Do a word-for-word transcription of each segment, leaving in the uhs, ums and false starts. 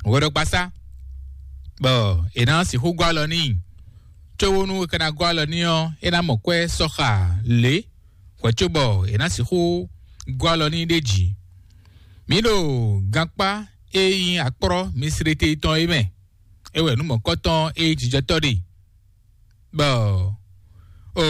hwɛɖɔgbasá, bɔ è nǎ sixú gɔ́ alɔ n'i. Cóbónú è ka ná gɔ́ alɔ n'i ɔ́, é ná mɔ kwɛ́ sɔ́ xa lě hwɛ̌ cóbɔ è nǎ sixú gɔ́ alɔ n'i ɖ'é jí. Mǐ ɖo gankpá e nyí akplɔ́ Misirete tɔn é mɛ; é wɛ nǔ mɔ̌kɔtɔn e nyí jijɔtɔ́ ɖe. Bɔ o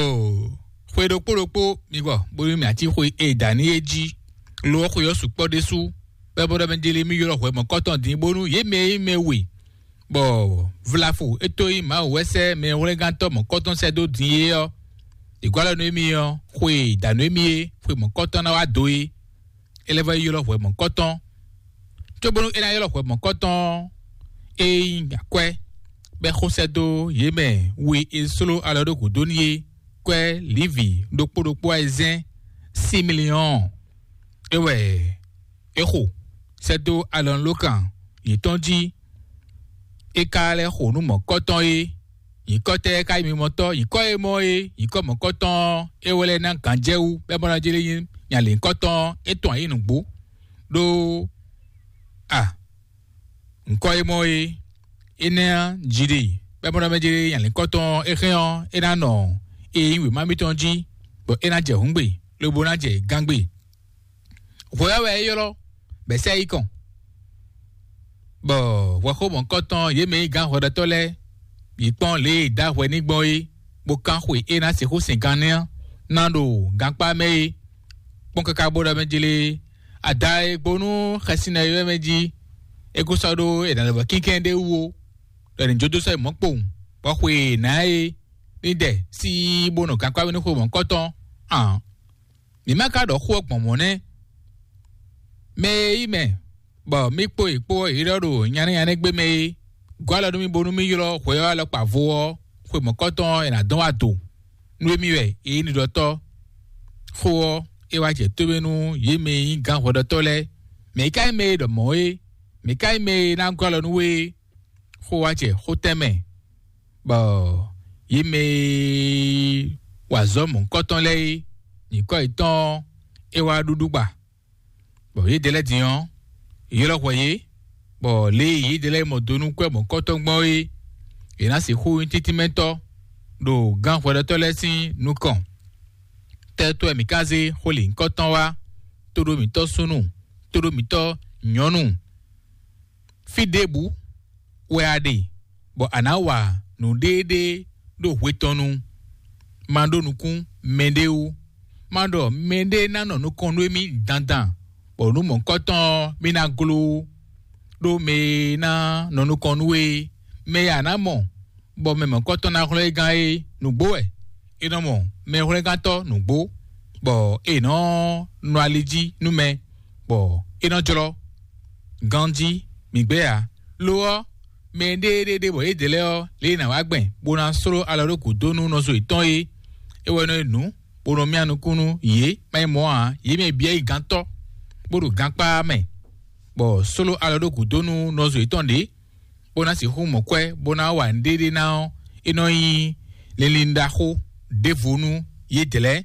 xwe ɖokpó ɖokpó mi gbɔ bónú mì atín xwe e da ní é jí; lo ɔ́, xwe ɔ́ sukpɔ́ ɖésú, bɔ é bó ɖɔ mɛ jeli mì ylɔ́ hwɛ mɔ̌kɔtɔn din, bónú yě mɛ e nyí mɛ we, bɔ vlafo é tó nyí Mawu wɛ sɛ́ mɛhwlɛ́ngántɔ́ mɔ̌kɔtɔn sɛ́ dó din é ɔ́, è gɔ́ alɔ nú émí ɔ́, xwe e da nú émí é, xwe mɔ̌kɔtɔn ná wá do é. É lɛ́ vɔ́ yi ylɔ́ hwɛ mɔ̌kɔtɔn. Cóbónú é ná ylɔ́ hwɛ mɔ̌kɔtɔn ɔ́, é nyí akwɛ́, bɔ é xo sɛ́ dó yě mɛ we e sló alɔ ɖó gǔdo n'i é, kwɛ́ Livi ɖokpó ɖokpó ayizɛ́n sí miliɔ́ɔn. É wɛ é xo sɛ́ dó alɔnulókan yětɔn jí. É ka lɛ́ xo nǔ mɔ̌kɔtɔn é. Nyǐkɔ tɛ́ ka nyí mimɔtɔ́? Nyǐkɔ e mɔ é, nyǐkɔ mɔ̌kɔtɔn ɔ́, é wɛ lɛ́ ná gǎnjɛwú, bɔ é mɔ ná jlé nyí nyalěnkɔtɔn ɔ́, é tɔn ayǐ nǔgbó. Ɖó a nyǐkɔ e mɔ é, énɛ́ ɔ́, jǐ ɖe, bɔ é mɔ ná mɛ jlé nyalěnkɔtɔn ɔ́, é hɛn ɔ́, é ná nɔ e nyí wěma mitɔn jí, bɔ é ná jɛ hǔngbe, lobo ná jɛ gángbe. Hwɛ ɔ́ wɛ é ylɔ́, bɔ é sɛ́ yi kɔn, bɔ hwɛxómɔkɔ́tɔn yě mɛ e nyí gǎn hwɛɖɔtɔ́ lɛ́ɛ yi kpɔ́n lě e è dǒ ahwɛ n'i gbɔn é, bó kán xwe e ná sixú sɛn gan nɛ́ ná ɖo gankpá mɛ é. Kpɔ́n káká bó ɖɔ mɛ jlé, ada e gbo nú xɛsi nɔ é wɛ mɛ jí, é kó sɔ́ ɖó è nǎ lɛ́ vɔ kínkɛ́n ɖé wú ó, ɖɔ è nǐ jó dó sɔ́ yi mɔ̌ kpowun, bɔ xwe e è nǎ é ní dɛ síi bó nɔ gankpá mɛ nú xwe mɔ̌kɔ́tɔn ǎ. Mǐ ma ka ɖɔ xó ɔ́ gbɔn mɔ̌ nɛ́. Mɛ e yí mɛ, bɔ mì kpó yě kpó ɔ́, yě ɖɔ ɖo nyanɛ́ nyanɛ́ gbé mɛ é, gɔ́ alɔ nú mì bónú mì ylɔ́ hwɛ ɔ́ alɔkpa vo ɔ́, xwe mɔ̌kɔtɔn ɔ́, è nǎ dɔn wá do. Nú émí wɛ è nyí ɖiɖɔtɔ́. Xó ɔ́, é wá jɛ tómɛ nú yě mɛ e nyí gǎn hwɛɖɔtɔ́ lɛ́ɛ. Mɛ̌ ka nyí mɛ e ɖɔ mɔ̌ é? Mɛ̌ ka nyí mɛ e ná gɔ́ alɔ nú we é? Xó wá jɛ xó tɛ́nmɛ, bɔ yě mɛ e wa azɔ̌ mɔ̌hunkɔtɔn lɛ́ɛ é, nyǐkɔ yětɔn ɔ́, é wá ɖúɖú gba. Bɔ yědɛɛ lɛ́ɛ din ɔ́, è ylɔ́ hwɛ yě, bɔ lě e yědɛɛ lɛ́ɛ mɔ do nú kwɛ́ mɔ̌hunkɔtɔn gbɔn é, è nǎ sixú nyí títínmɛtɔ́ ɖo gǎn hwɛɖɔtɔ́ lɛ́ɛ sín nukɔn. Tɛ́tɔ́ wɛ mǐ ka zé xó lǐnkɔtɔn wá, tóɖó mǐtɔn súnnu, tóɖó mǐtɔn nyɔ̌nu? Fí ɖěbǔ wɛ a ɖe, bɔ a nǎ wa nǔɖéɖé ɖo hwe tɔn nu. Ma ɖó nukún mɛɖé wú. Ma ɖɔ mɛɖé ná nɔ nukɔn nú émí dandan, bɔ nǔ mɔ̌hunkɔtɔn ɔ́, mì ná gló ó, ɖó mɛ e ná nɔ nukɔn nú we é, mɛ e a nǎ mɔ, bɔ mɛ mɔ̌hunkɔtɔn ná hlɔ́n é gán é, nǔgbó wɛ. È nɔ mɔ mɛhwlɛ́ngántɔ́ nǔgbó, bɔ è nɔ nɔ ali jí nú mɛ, bɔ é nɔ jlɔ́ ganjí mǐ gbé ǎ. Lo ɔ́, mɛ e ɖéeɖéeɖé bɔ yě dě lɛ́ɛ ɔ́, lě e è nǎ wá gbɛn bó ná sló alɔ ɖó gǔdo nú nɔzo yětɔn é, é wɛ nɔ nyí nǔ bó nɔ myá nukún nú yě, má nyí mɔ̌ ǎ. Yě mɛ byɔ́ yi gantɔ́, bó ɖo gankpá mɛ, bɔ sló alɔ ɖó gǔdo nú nɔzo yětɔn ɖě, bó ná sixú mɔ kwɛ́, bó ná wa nǔɖéɖé ná ɔ́, é nɔ nyí linlin ɖaxó ɖěvo nú yědɛɛ.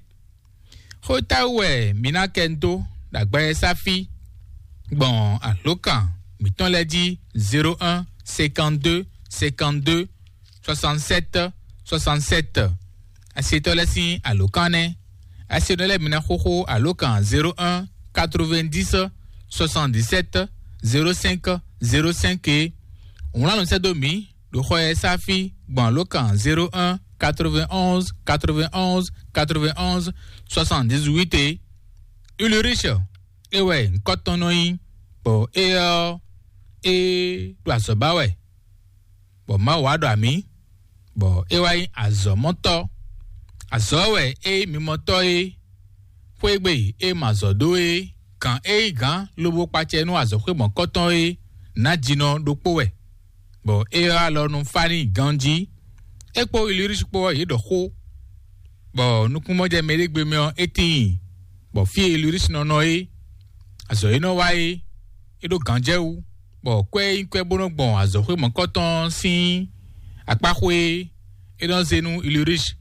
Xó táwú wɛ mǐ ná kɛ dó ɖo agbawɛsá fí gbɔn alǒkan mǐtɔn lɛ́ɛ jí: zéro un, cinquante-deux, cinquante-deux, soixante-sept, soixante-sept. Asetɔ́ lɛ́ɛ sín alǒkan nɛ́. Asetɔ́ lɛ́ɛ mi ná xóxó alǒkan zéro un, quatre-vingt-dix, soixante-dix-sept, zéro cinq, zéro cinq é. Wlán nǔ sɛ́ dó mǐ ɖo xɔ e sá fí gbɔn alǒkan zéro un, quatre-vingt-onze, quatre-vingt-onze, quatre-vingt-onze, soixante-dix-huit é. Ulrich é wɛ ŋkɔ́ tɔn nɔ nyí, bɔ é ɔ́, é ɖo azɔ̌ ba wɛ, bɔ Mawu wá ɖɔ amǐ, bɔ é wá nyí azɔ̌mɔtɔ́. Azɔ̌ wɛ é nyí mimɔtɔ́ é, xwé gbe é ma azɔ̌ dó é, gǎn é nyí gǎn lobo kpacɛ nú azɔ̌xwé mɔ̌kɔtɔn é, nǎjinɔ ɖokpó wɛ, bɔ é ɔ́ alɔ nɔ fá n'i ganjí. É kpó Ilirisi kpó ɔ́, yě ɖɔ xó, bɔ nukúnmɔjɛmɛ ɖé gbe mɛ ɔ́, é tíin, bɔ fí e Ilirisi nɔ nɔ é, azɔ̌ e nɔ wa é, é ɖó gǎnjɛwú, bɔ kwɛ́ e nyí kwɛ́ bó nɔ́ gbɔn azɔ̌xwé mɔ̌kɔtɔn sín akpáxwé é, é nɔ zé nú Ilirisi,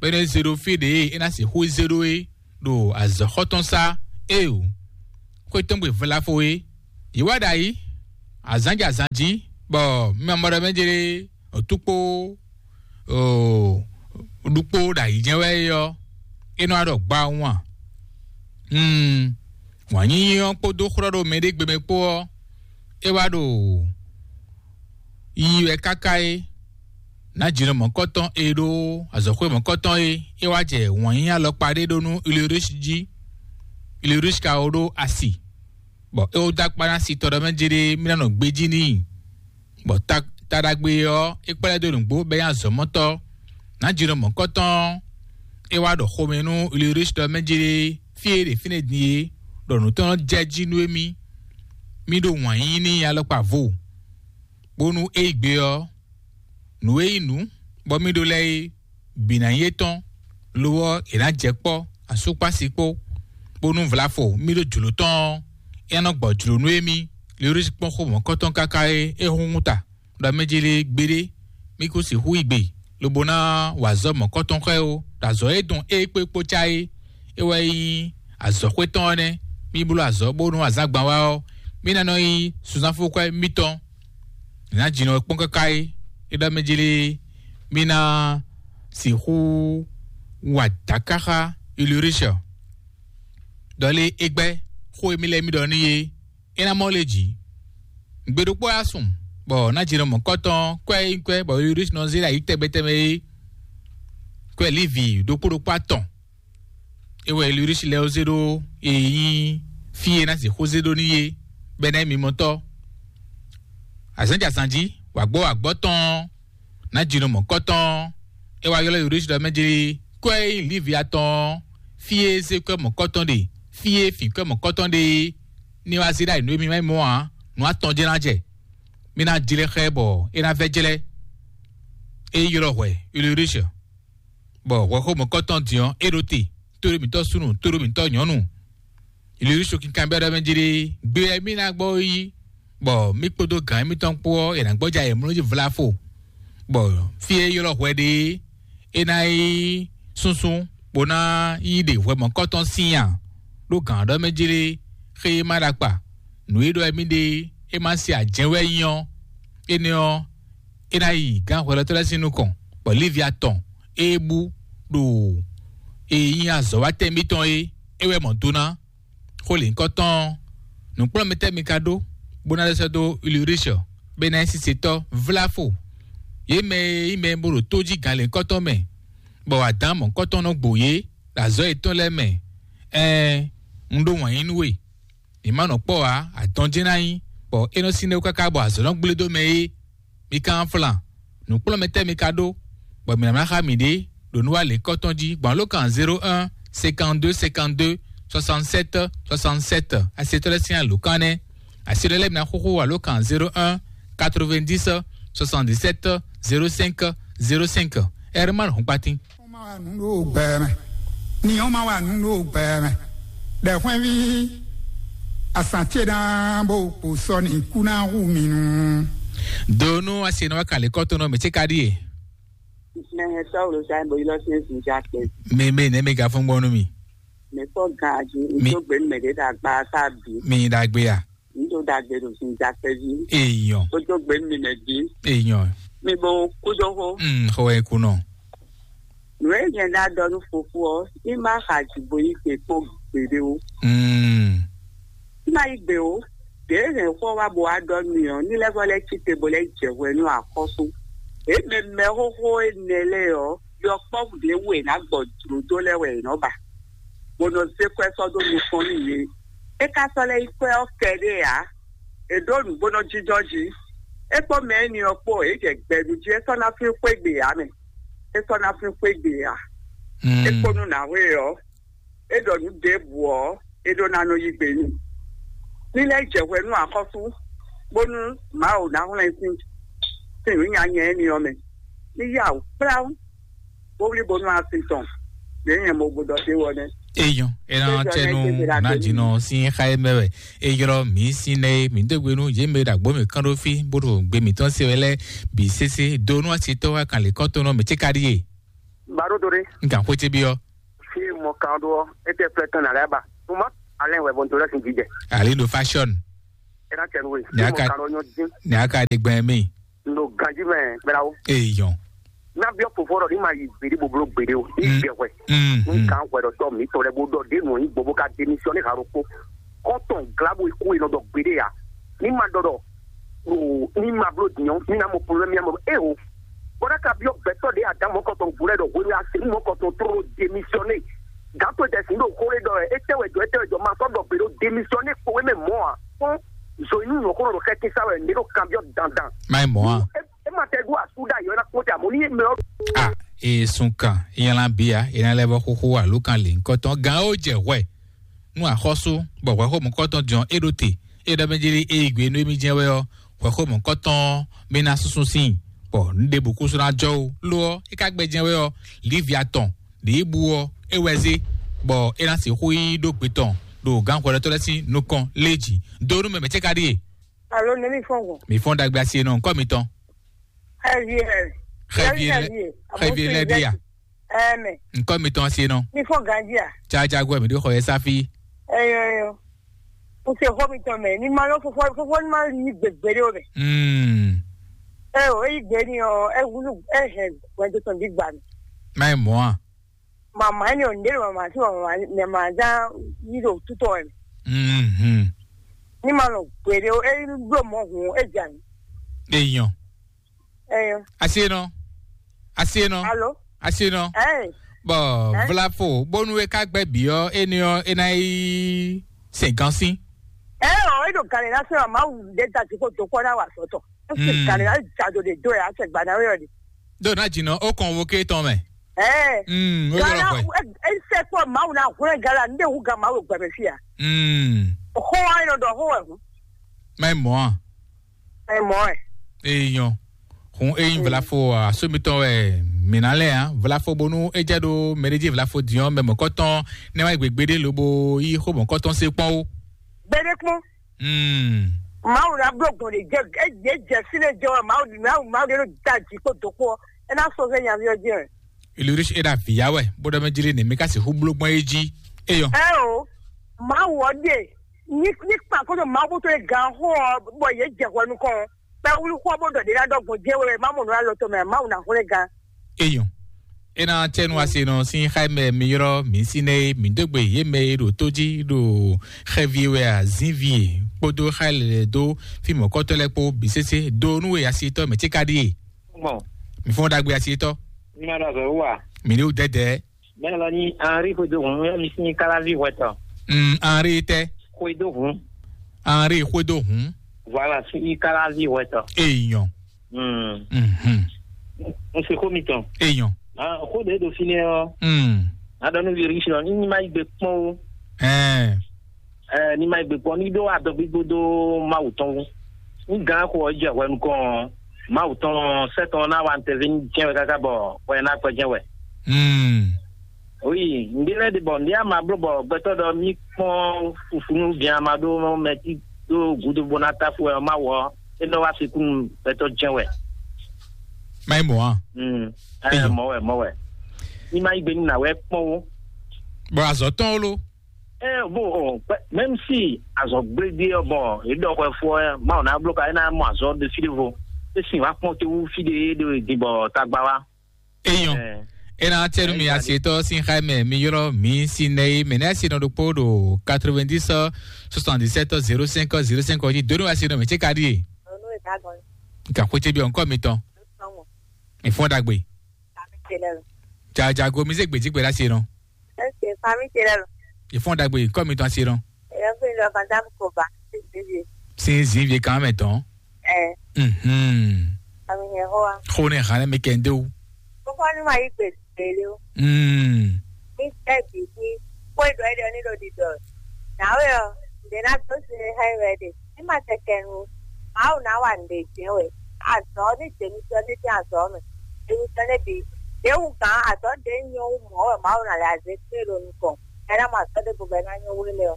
bɔ é nɔ zé ɖó fí ɖě e é ná sixú zé ɖó é, ɖo azɔ̌xɔ tɔn sá. Éeǒ, xwé tɔn gbe vlafo é, yě wá ɖ'ayǐ, azǎn jɛ azǎn jí, bɔ mi ma mɔ ɖɔ mɛ jlé òtúkpó ɖukpó ɖo ayǐ jɛ́n wɛ é ɔ́, é nɔ wá ɖɔ gbawun a? Wǎn yíyí ɔ́ kpódó xlɔ́ ɖo mɛɖé gbe mɛ kpó ɔ́, é wá ɖo yiyi wɛ káká é. Nǎjínɔ mɔ̌kɔtɔn e ɖó azɔ̌xwé mɔ̌kɔtɔn é, é wá jɛ wǎn yíyí alɔkpa ɖé ɖó nú Ulrich jí. Ulrich ka wó ɖó asi, bɔ é wó dó akpá ná sitɔ ɖɔ mɛ jé ɖé mí ná nɔ gbéjí n'i. Bɔ ta ta ɖagbe ɔ́, é kplá ɛ dó nǔgbó bɔ é nyí azɔ̌mɔtɔ́. Nǎjínɔ mɔ̌kɔtɔn ɔ́, é wá ɖɔ xomɛ nú Ulrich ɖɔ mɛ jé ɖé fí e ɖe fínɛ́ din é, ɖɔ nǔ tɔn nɔ jɛ jí nú émí. Mí ɖo wǎn yíyí n'i alɔkpa vo, bónú é yi gbe ɔ́, nǔ e nyí nǔ bɔ mí ɖó lɛ́ɛ é bǐ ná nyí étɔn, lo ɔ́, è nǎ jɛ kpɔ́ asúkpási kpó, bónú vlafo mí ɖó jlǒ tɔn ɔ́, é nɔ gbɔ jlǒ nú émí. Lewlísi kpɔ́n xó mɔ̌kɔtɔn káká é é hún ta ɖɔ mɛ jélé gbeɖé, mí kún sixú yi gbe, lobo ná wa azɔ̌ mɔ̌kɔtɔn xá ɛ ó, ɖo azɔ̌ e dɔn é kpó é kpó cá é. É wɛ nyí azɔ̌xwé tɔn ɔ́ nɛ́. Mí bló azɔ̌ bónú azǎn gban wá ɔ́, mí ná nɔ nyí sunzánfúkwɛ́ mitɔn. Nǎ jǐnɔ kpɔ́n káká é, é ɖɔ mɛ jlé mí ná sixú wa dǎká xá Ulrich. Ɖɔ lé é gbɛ́ xó e mí lɛ́ mí ɖɔ n'i é, é ná mɔ lé jǐ. Gbe ɖokpó wá sùn, bɔ ná jǐnɔ mɔ̌kɔtɔn kwɛ́ é nyí kwɛ́ bɔ Ulrich nɔ zé ɖo ayǐ tɛgbɛ tɛgbɛ é, kwɛ́ Livi ɖokpó ɖokpó atɔn. É wɛ Ulrich lɛ́ ó zé ɖó e nyí fí e ná sixú zé ɖó n'i é, bɔ é ná nyí mimɔtɔ́. Azǎn jɛ azǎn jí, wǎgbɔ́ wǎgbɔ́ tɔn ɔ́, ná jínɔ mɔ̌kɔtɔn ɔ́, é wá ylɔ́ Ulrich ɖɔ mɛ jlé kwɛ́ e nyí Livi atɔn ɔ́, fí e zé kwɛ́ mɔ̌kɔtɔn ɖe, fí e fǐn kwɛ́ mɔ̌kɔtɔn ɖe é, ní wá zé ɖó ayǐ nú émí má nyí mɔ̌ ǎ, nǔ atɔn jɛ́n ná jɛ. Mí ná jlɛ́ xá ɛ bɔ é ná vɛ́ jlɛ́. É ylɔ́ hwɛ Ulrich, bɔ hwɛxó mɔ̌kɔtɔn din ɔ́, é ɖo te, tóɖó mǐtɔn súnnu, tóɖó mǐtɔn nyɔ̌nu. Ulrich kinkanbyɔ́ ɖɔ mɛ jlé gbé wɛ mí ná gbɔ yi, bɔ mí kpódó gǎn émítɔn kpó ɔ́, è nǎ gbɔ́jɛ ayǐmlɔ́ jí vlafo, bɔ fí e é ylɔ́ hwɛ ɖe é, é ná yi súnsún, bó ná yi ɖe hwɛ mɔ̌kɔtɔn sín a? Ɖó gǎn ɔ́ ɖɔ mɛ jlé xé e má ɖo akpa, nǔ e ɖɔ wɛ mí ɖe é má se ajɛ̌ wɛ nyí ɔ́, énɛ́ ɔ́, é ná yi gǎn hwɛɖɔtɔ́ lɛ́ɛ sín nukɔn, bɔ Livi atɔn e bú ɖo e nyí azɔ̌watɛ́ mitɔn é, é wɛ mɔ do ná. Xó lěhunkɔtɔn ɔ́, nǔkplɔ́nmɛtɛ́ mi ka ɖó, bó ná lɛ́ sɛ́ dó Ulrich, bɔ é ná nyí sisetɔ́ vlafo? Yě mɛ e nyí mɛ e bó ɖo tó jí gǎn lěhunkɔtɔn mɛ, bɔ adǎn mɔ̌kɔtɔn nɔ gbo yě ɖo azɔ̌ yětɔn lɛ́ɛ mɛ. Ɛɛn, un ɖó wǎn yí nú we. Mǐ ma nɔ kpɔ́ ǎ, adɔn jɛ́n ná nyí, bɔ é nɔ sín ɖe káká bɔ azɔ̌ nɔ gblé dó mɛ é. Mi ka nɔ flan, nǔkplɔ́nmɛtɛ́ mi ka ɖó, bɔ mǐ ná ná xá miɖée ɖo nǔ wa lěkɔ́tɔn jí gbɔn alǒkan zéro un cinquante-deux cinquante-deux soixante-sept soixante-sept. Asetɔ́ lɛ́ɛ sín alǒkan nɛ́. Asetɔ́ lɛ́ɛ mi ná xóxó alǒkan zéro un quatre-vingt-dix soixante-dix-sept zéro cinq zéro cinq. Herman Hɔnkpatín. Ni ɔ́ ma wa nǔ ɖo gbɛ mɛ. Ni ɔ́ ma wa nǔ ɖo gbɛ mɛ. Ɖɛ̌ hwɛ́nví, asǎn ce ná bó kpo sɔ́ ni kú ná hu mi nu. Do nú asi nɔ wá kàlí kɔ́tɔn nɔ mɛ ce ka ɖíe. Mɛ hɛn sɔ́ wlo sa bo yi lɔ sín sin ja kpɛ. Mɛ mɛ nɛ mɛ ga fún gbɔn nú mi. Mɛ fɔ gan aju. Mi- ŋdo gbe mɛ ɖe ɖe agba sa bi. Mi ɖagbe ya. Ŋdo ɖagbe ɖo sin ja kpɛ vi. Eyɔn. Kodo gbe mi mɛ bi. Eyɔn. Mi bo kudo ho. Mm, xɔ wɛ kunɔ. Nǔ e nyɛ ná ɖɔ nú fofo ɔ́, ní má xa jǐ bo yí gbe kpɔ́n gbeɖé ó. Mm. Ní má yí gbe ó, ɖěe hɛn xó ɔ́ wá bó wá ɖɔ nú mì ɔ́, ní lɛ́ vɔ́ lɛ́ cí te bó lɛ́ jɛ hwɛ nú axɔ́sú. Ě mɛ mɛ xóxó énɛ́ lɛ́ɛ ɔ́, yɔkpɔ́vú ɖě wú è nǎ gbɔ jlǒ dó lɛ́ɛ wɛ è nɔ́ ba, bó nɔ zé kwɛ́ sɔ́ dó nukɔn nú yě. É ka sɔ́ lɛ́ nyí kwɛ́ ɔ́ kɛɖée ǎ. È ɖǒ nǔgbónɔ jínjɔ́n jí. É kpó mɛ énɛ́ ɔ́ kpó, é jɛ gbɛ ɖu jí, é sɔ́ ná flín xwé gbe ǎ mɛ. É sɔ́ ná flín xwé gbe ǎ. Mm. É kpó nú nǎwe ɔ́, é ɖɔ nǔ ɖěbǔ ɔ́, é ɖó ná nɔ yí gbe n'i. Ní lɛ́ jɛ hwɛ nú axɔ́sú, bónú Mawu ná hwlɛ́n sín sín nǔ nyanya énɛ́ ɔ́ mɛ. Ní yá wǔ kplá bó wlí bónú asi tɔn, ɖě nyɛ mo gbɔdɔ ɖe wɔ nɛ́. Eyɔn, ena tɛnu na dzinɔ sin xa ye mɛ wɛ. Eyɔrɔ mi sin nɛ mi do gbenu ye mɛ ɖagbo mi kan ɖo fi bó ɖo gbe mi tɔn se wɛ lɛ bi sese do nú asi tɔ wa kan le kɔtɔn nɔ mi tse ka ɖi ye. Baro dore. N kan xwete bi ɔ. Fi mɔ kan ɖo ɔ, e tɛ flɛ tɔn na lɛ ba. Tuma, alɛ wɛ bɔn to lɛ sin jijɛ. Ali do fashion. Ena cɛ nwe. Nyaka. Mo ka nɔ nyɔ dín. Nyaka de gbɛn mi. Ndo ganji mɛ, bɛlawo. Eyɔn. Na biɔ fofo rɔ ni ma yi gbedi boblo gbede o. Ni Mm. Gbɛ hwɛ. Mm, Ni mm. Kan hwɛ dɔ tɔ mi tɔ lɛ bo dɔ de nɔ yi gbogbo ka démissionner ha ro ko. Kɔntɔn glabo iku e nɔ dɔ gbede ya. Ni ma dɔ dɔ. O, ni ma blo dinyɔ, ni na mo problème ya mo. E o. Bɔda ka biɔ gbɛtɔ de adam mɔ kɔntɔn gulɛ dɔ hwenu ya se mɔ kɔntɔn tro démissionner. Gato jɛ sin ɖo xó ɖé ɖɔ wɛ, étɛ́ wɛ jɔ, étɛ́ wɛ jɔ, ma sɔ́ ɖɔ gbe ɖó démissionner kpowé mɛ mɔ̌ ǎ. Kpɔ́n zo inú nyɔ̌xó ɖo xɛ́tín sá wɛ, ní ɖo kanbyɔ́ dandan. Má nyí mɔ̌ ǎ. É é ma tɛ ɖó asú ɖ'ayǐ ɔ́, é ná kpɔ́n te, amɔ̌ ní é mɛ ɔ́. A e sun kan, e nylá bia, e ná lɛ́ vɔ xóxó alo kan lě ŋkɔtɔn gán ó jɛ hwɛ. Nú axɔ́sú, bɔ hwɛxó mɔ̌kɔtɔn din ɔ́, é ɖo te, é ɖɔ mɛ jlí é yi gbe nú émí jɛ́n wɛ ɔ́, hwɛxó mɔ̌kɔtɔn mɛ ná súnsún síin, bɔ nǔ ɖěbǔ kúsú ná jɔ ó. Lo ɔ́, é ka gbɛ jɛ́n wɛ ɔ́, lǐvi atɔn ɖě bu ɔ́, é wɛ zé, bɔ é ná sixú yi ɖó gbe tɔn ɖo gǎnhwɛɖɔtɔ́ lɛ́ɛ sín nukɔn lé jǐ. Do nú mɛ mɛ̌ cɛ́ ka ɖíe? Alo, nɛ̌ mi fɔ́n gbɔn? Mi fɔ́n ɖagbe asi e nɔ ŋkɔ mitɔn. Xɛvi ɛ. Xɛvi ɛ. Xɛvi ɛ lɛ́ ɖíe a? Ɛmɛ. Ŋkɔ mitɔn asi e nɔ. Mi fɔ́n ganjí a? Jajago mi ɖo xɔ yɛ sáfí. Ɛyɔ, ɛyɔ. Mo se xɔ mitɔn mɛ. Ni ma lɔ fofo, fofo ni ma yi gbegbe ɖe o mɛ. Mm. Ɛ o, eyi gbe ni ɔ, ɛ wulu, ɛ hɛn gbɛdo tɔn di gba mi. Má yi mɔ̌ a? Mama ni ɔ, nde mama si mama, mama za yi ɖo tutɔ ɛ. Mhm. Ni ma lɔ gbe ɖe o, e blo mɔ hun, e ja mi. Eyɔn. Ɛyɔ. Asi e nɔ. Asi e nɔ. Alo. Asi e nɔ. Ɛɛ. Bɔn vlafo bónú e ká gbɛ bǐ ɔ́, énɛ́ ɔ́, é ná yi sɛn gán sín. Ɛɛ ɔ, e ɖo gǎn lě ná sɔ́ ɔ́, Mawu ɖe da jǐ kó dó kpɔ́ ná wa sɔ́ tɔn. É sì gǎn lě ná jǎ do ɖe dó ɛ, á sɛ gbǎ ná wé ɔ́ ɖi. Ɖó ná jǐ nɔ ó kɔn wo ké tɔn mɛ. Ɛɛ. Mm, ó yɔrɔ hwɛ. E sɛ kpɔ Mawu ná hwlɛ́n gǎn la, ní ɖe hu gǎn Mawu gbɛ mɛ fí a? Mm. Xó wa nɔ ɖɔ xó wɛ hun. Má yi mɔ̌ a? Má yi mɔ̌ ɛ. Eyɔn. Hun eyin vlafo asómitɔn wɛ mǐ ná lɛ́ ǎ. Vlafo bónú é jɛ ɖó mɛɖéjí vlafo din ɔ́, mɛ mɔ̌kɔtɔn nɛ́ wá yi gběgbé ɖé lobo yí xó mɔ̌kɔtɔn sé kpɔ́n ó. Gbéɖé kpɔ́n. Mm. Mawu ná bló gbɔn ɖe jɛ é jɛ jɛ fínɛ́ jɛ wɛ Mawu Mawu Mawu ɖé ló da jǐ kpó dó kpó ɔ́, é ná sɔ́ fɛ nyaví ɔ́ jɛ wɛ. Ilurisi é ɖo avǐ ya wɛ, bó ɖɔ mɛ jlí nǐ mì ka sixú bló gbɔn é jí. Eyɔn. Ɛ o, Mawu ɔ́ ɖe ní ní kpan kó ɖo Mawu bó tó e gan xó ɔ́ bɔ yě jɛ hwɛ nukɔn ɔ́, kpɛwúlú xó ɔ́ bó ɖɔ ɖě ná ɖɔ gbɔn jɛ wɛ má mɔ nǔ alɔ tɔn mɛ Mawu ná hwlɛ́n gan. Eyɔn. É ná tɛ́ nú asinɔ sín xá mɛ mi ylɔ́ mǐ sín nɛ́ é, mǐ dó gbe yě mɛ e ɖo tó jí ɖo xɛvi wɛ azǐnvi e kpódó xá lɛ́ dó fí mɔ̌kɔ́tɔ́ lɛ́ɛ kpó bǐ sésé dó nú e asitɔ́ mɛ cíká ɖíe. Gbɔn. Mi fɔ́n ɖagbe asitɔ́. Ní ma ɖo azɔ̌ wú a? Mi ɖo dɛdɛ. Mɛ lɔ ní Henri xwedó hǔn, yɔ mi sín káláví hwɛtɔ. Mm, Henri tɛ. Xwedó hǔn. Henri xwedó hǔn. Voilà, sín káláví hwɛtɔ. Eyɔn. Mm. Mhm. N se xó mitɔn. Eyɔn. Ah, xó ɖě ɖo fínɛ́ ɔ́. Mm. Adɔ nú Virgísio ɔ́, ní ní má yí gbe kpɔ́n ó. Ɛɛ. Ɛɛ, ní má yí gbe kpɔ́n, ní ɖó adɔgbígbó dó Mawu tɔn wú. Ní gǎn xo ɔ́ jɛ hwɛ nukɔn ɔ́, Mawu tɔn sɛ́ tɔn ná wa ntɛ́vɛ́ jɛ́n wɛ káká bɔ hwɛ ná kpɛ jɛ́n wɛ. Mm. Oui, ŋɖé lɛ́ɛ ɖe bɔ ŋɖé ama bló bɔ gbɛtɔ́ ɖɔ mí kpɔ́n fufunu bia ma ɖó mɛ tí ɖó gǔdo bó ná táfú wɛ ɔ́, má wɔ ɔ́, é nɔ wá fi kún gbɛtɔ́ jɛ́n wɛ. Má nyí mɔ̌ a? Mm. Ɛ, Eyɔ. Mɔ̌ wɛ, mɔ̌ wɛ. Ní má yí gbe ní nǎ wɛ kpɔ́n ó. Bɔ azɔ̌ tɔn ó ló. Ɛ, bó ɔ, pɛ- même si azɔ̌ gblé ɖé ɔ́, bɔ é ɖɔ hwɛ fó ɔ́, Mawu ná bló ka é ná mɔ azɔ́ ɖé fí ɖé vo. É sin wá kpɔ́n te wú fí ɖé é ɖo din bɔ tagba wá. Eyɔn. Ɛ. Ena tɛnu mi Ɛ, asietɔ sin xa mɛ mi ylɔ mi si nɛ ye mɛ ne asi nɔ ɖokpo ɖo quatre-vingt-dix soixante-dix-sept zéro cinq zéro cinq ɔ́ jí donu asi nɔ mɛ tse ka ɖi ye. Onu e dagbọn. Nka xwete bi ɔnkɔ mi tɔn. Sɔmɔ. Mi fɔ dagbe. Kami tse lɛ lo. Jajago mi se gbedzi gbe ɖe asi nɔ. Ɛseke kami tse lɛ lo. Mi fɔ dagbe nkɔ mi tɔn asi nɔ. Ɛyɔ fi lɔ madame Koba. Sisi. Sin zinvie kan mɛ tɔn. Ɛ. Mhm. Ami hɛn hoa. Xo ne xan mi kɛ ndewu. Kókó ni ma yí gbe gbélé o. Mm. Mi tɛ bi fi kó e ɖɔ é ɖɔ ní ɖo ɖiɖɔ. Nǎwe ɔ, ɖě ná dó sin hɛn wɛ ɖe. Ní ma tɛ kɛ nu. Mawu ná wa nǔɖé jɛ́n wɛ. Azɔ̌ ní jěmítɔ́ ní dín azɔ̌ mɛ. Jěmítɔ́ ní bǐ. Ɖě wú gǎn azɔ̌ ɖě nyɔ wú mɔ̌ wɛ Mawu ná lɛ azě kpé ɖo nukɔn. Ɛ ná mɔ azɔ̌ ɖěbǔ bɔ é ná nyɔ wú nú mɛ ɔ.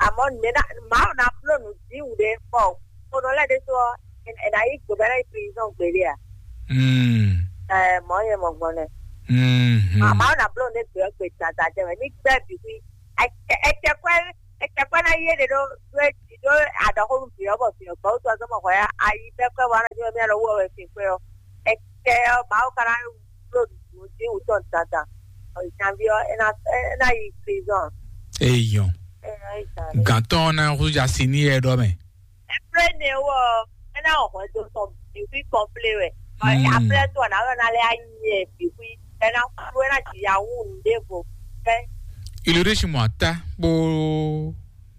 Amɔ̌ nǔɖé ná Mawu ná bló nǔ dín wǔɖé bɔ Xonɔ lɛ́ɛ ɖésú ɔ́, è nǎ yí gbǒ bɔ é ná yi prison gbeɖé a? Mm. Ɛɛ, mɔ̌ nyɛ mɔ gbɔn nɛ. Mhm. Mama ɔ́ ná bló nǔ ɖé gbě ɔ́ gbe dada jɛ mɛ ní gbɛ́ bǐ xwí. Ɛtɛkwɛ́ ɛtɛkwɛ́ ná yí éɖé ɖó ɖó é jí Ɖó aɖɔxónú vǐ ɔ́ bɔ vǐ ɔ́ gbɔ wútu ɔ́ zɔ́n mɔ hwɛ ayi pɛ́pɛ́ wa ná jɔ mɛ lɔ wú ɔ́ wɛ fin kpé ɔ́. Ɛkɛ ɔ́, Mawu ka ná bló nǔ dín wú tɔn dandan. Ìtsanví ɔ́, é ná é ná yi prison. Eyɔn. É ná yi zan. Gǎntɔn ɔ́ ná húzú asi ní yɛ ɖɔ mɛ. Ɛ́plɛ́nɛ wɔ ɔ́, é ná wɔ hwɛndo tɔn bǐ fí kɔnplé wɛ. Hmm. Après tó ɔ́, ná wɛ ná lɛ́ anyɛ bǐ fí. É ná kú, é ná jǐ ya wú nǔɖévo. Fɛ́. Ilodési mɔ ata kpó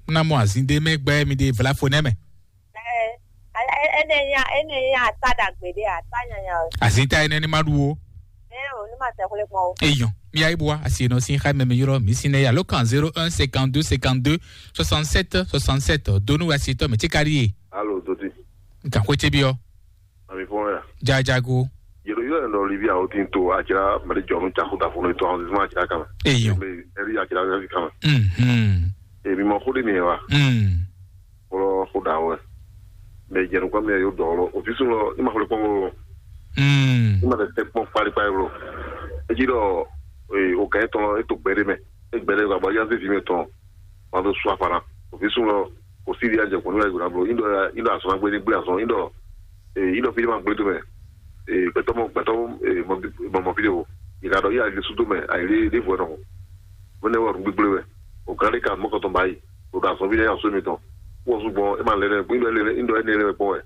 ná mɔ azin ɖé mɛ gbɛ mi ɖe vlafo nɛ mɛ. Ɛ, ɛ, ɛ, ɛnɛ nya, ɛnɛ nya ata ɖagbe ɖé, ata nyanya o. Azin ta ɛnɛ ni ma ɖu o. Ɛ o, ní ma sɛ xwlé kpɔn o. Eyɔn, mi ayi bua asi nɔ sin xa mɛ mi yrɔ mi sin nɛ ya lo kan zéro un cinquante-deux cinquante-deux soixante-sept soixante-sept. Donu asi tɔ mi ti kari ye. Alo, Dodi. Nkan xwe ce bi ɔ. Ami fɔn ya. Jajago. Yelo yɔ ɛnɔ libi awo tin to atsira mali jɔnu caku da funu to awon zizima atsira kama. Eyɔn. Ɛri atsira ɛri kama. Mhm. Èmi mɔ xó ɖé nìyẹn wa? Mm. Kplɔ́ xó ɖa wɛ. Mɛ jɛ nukpɔ́n mɛ yóò dɔn lɔ. Òfin sun lɔ, ní ma xwlé kpɔ́n wolo. Mm. Ní ma tɛ tɛ kpɔ́n kpálíkpálí wolo. Eji ɖɔ, ee, o kɛ tɔn lɔ, e to gbɛ ɖé mɛ. E gbɛ ɖé gba bɔ yá zé vi mɛ tɔn. Ma ɖo su afana. Òfin sun lɔ, kò sí di ajɛ kɔn ní wɛ gbɔdɔ blo. Ní ɖɔ, ní ɖɔ azɔn agbe ní gblé azɔn. Ní ɖɔ, ee, ní ɖɔ fi ní ma gblé tó mɛ. Ee, gbɛtɔ mɔ, gbɛtɔ mɔ, ee, mɔ, mɔ, mɔ fi ɖe o. Yi ka ɖɔ, yi ali su tó mɛ, ayi ɖé, ɖé vɔ nɔ. Mɛ ne wɔ nǔgbígblé wɛ. O gán ɖé ka mɔ kɔtɔn ba yi. O ɖo azɔnví lɛ́ɛ nyi asú mitɔn. Wɔ sú gbɔn, é ma lɛ lɛ, gbígbɛ lɛ lɛ, ńdɔ ɛnɛ lɛ kpɔn wɛ.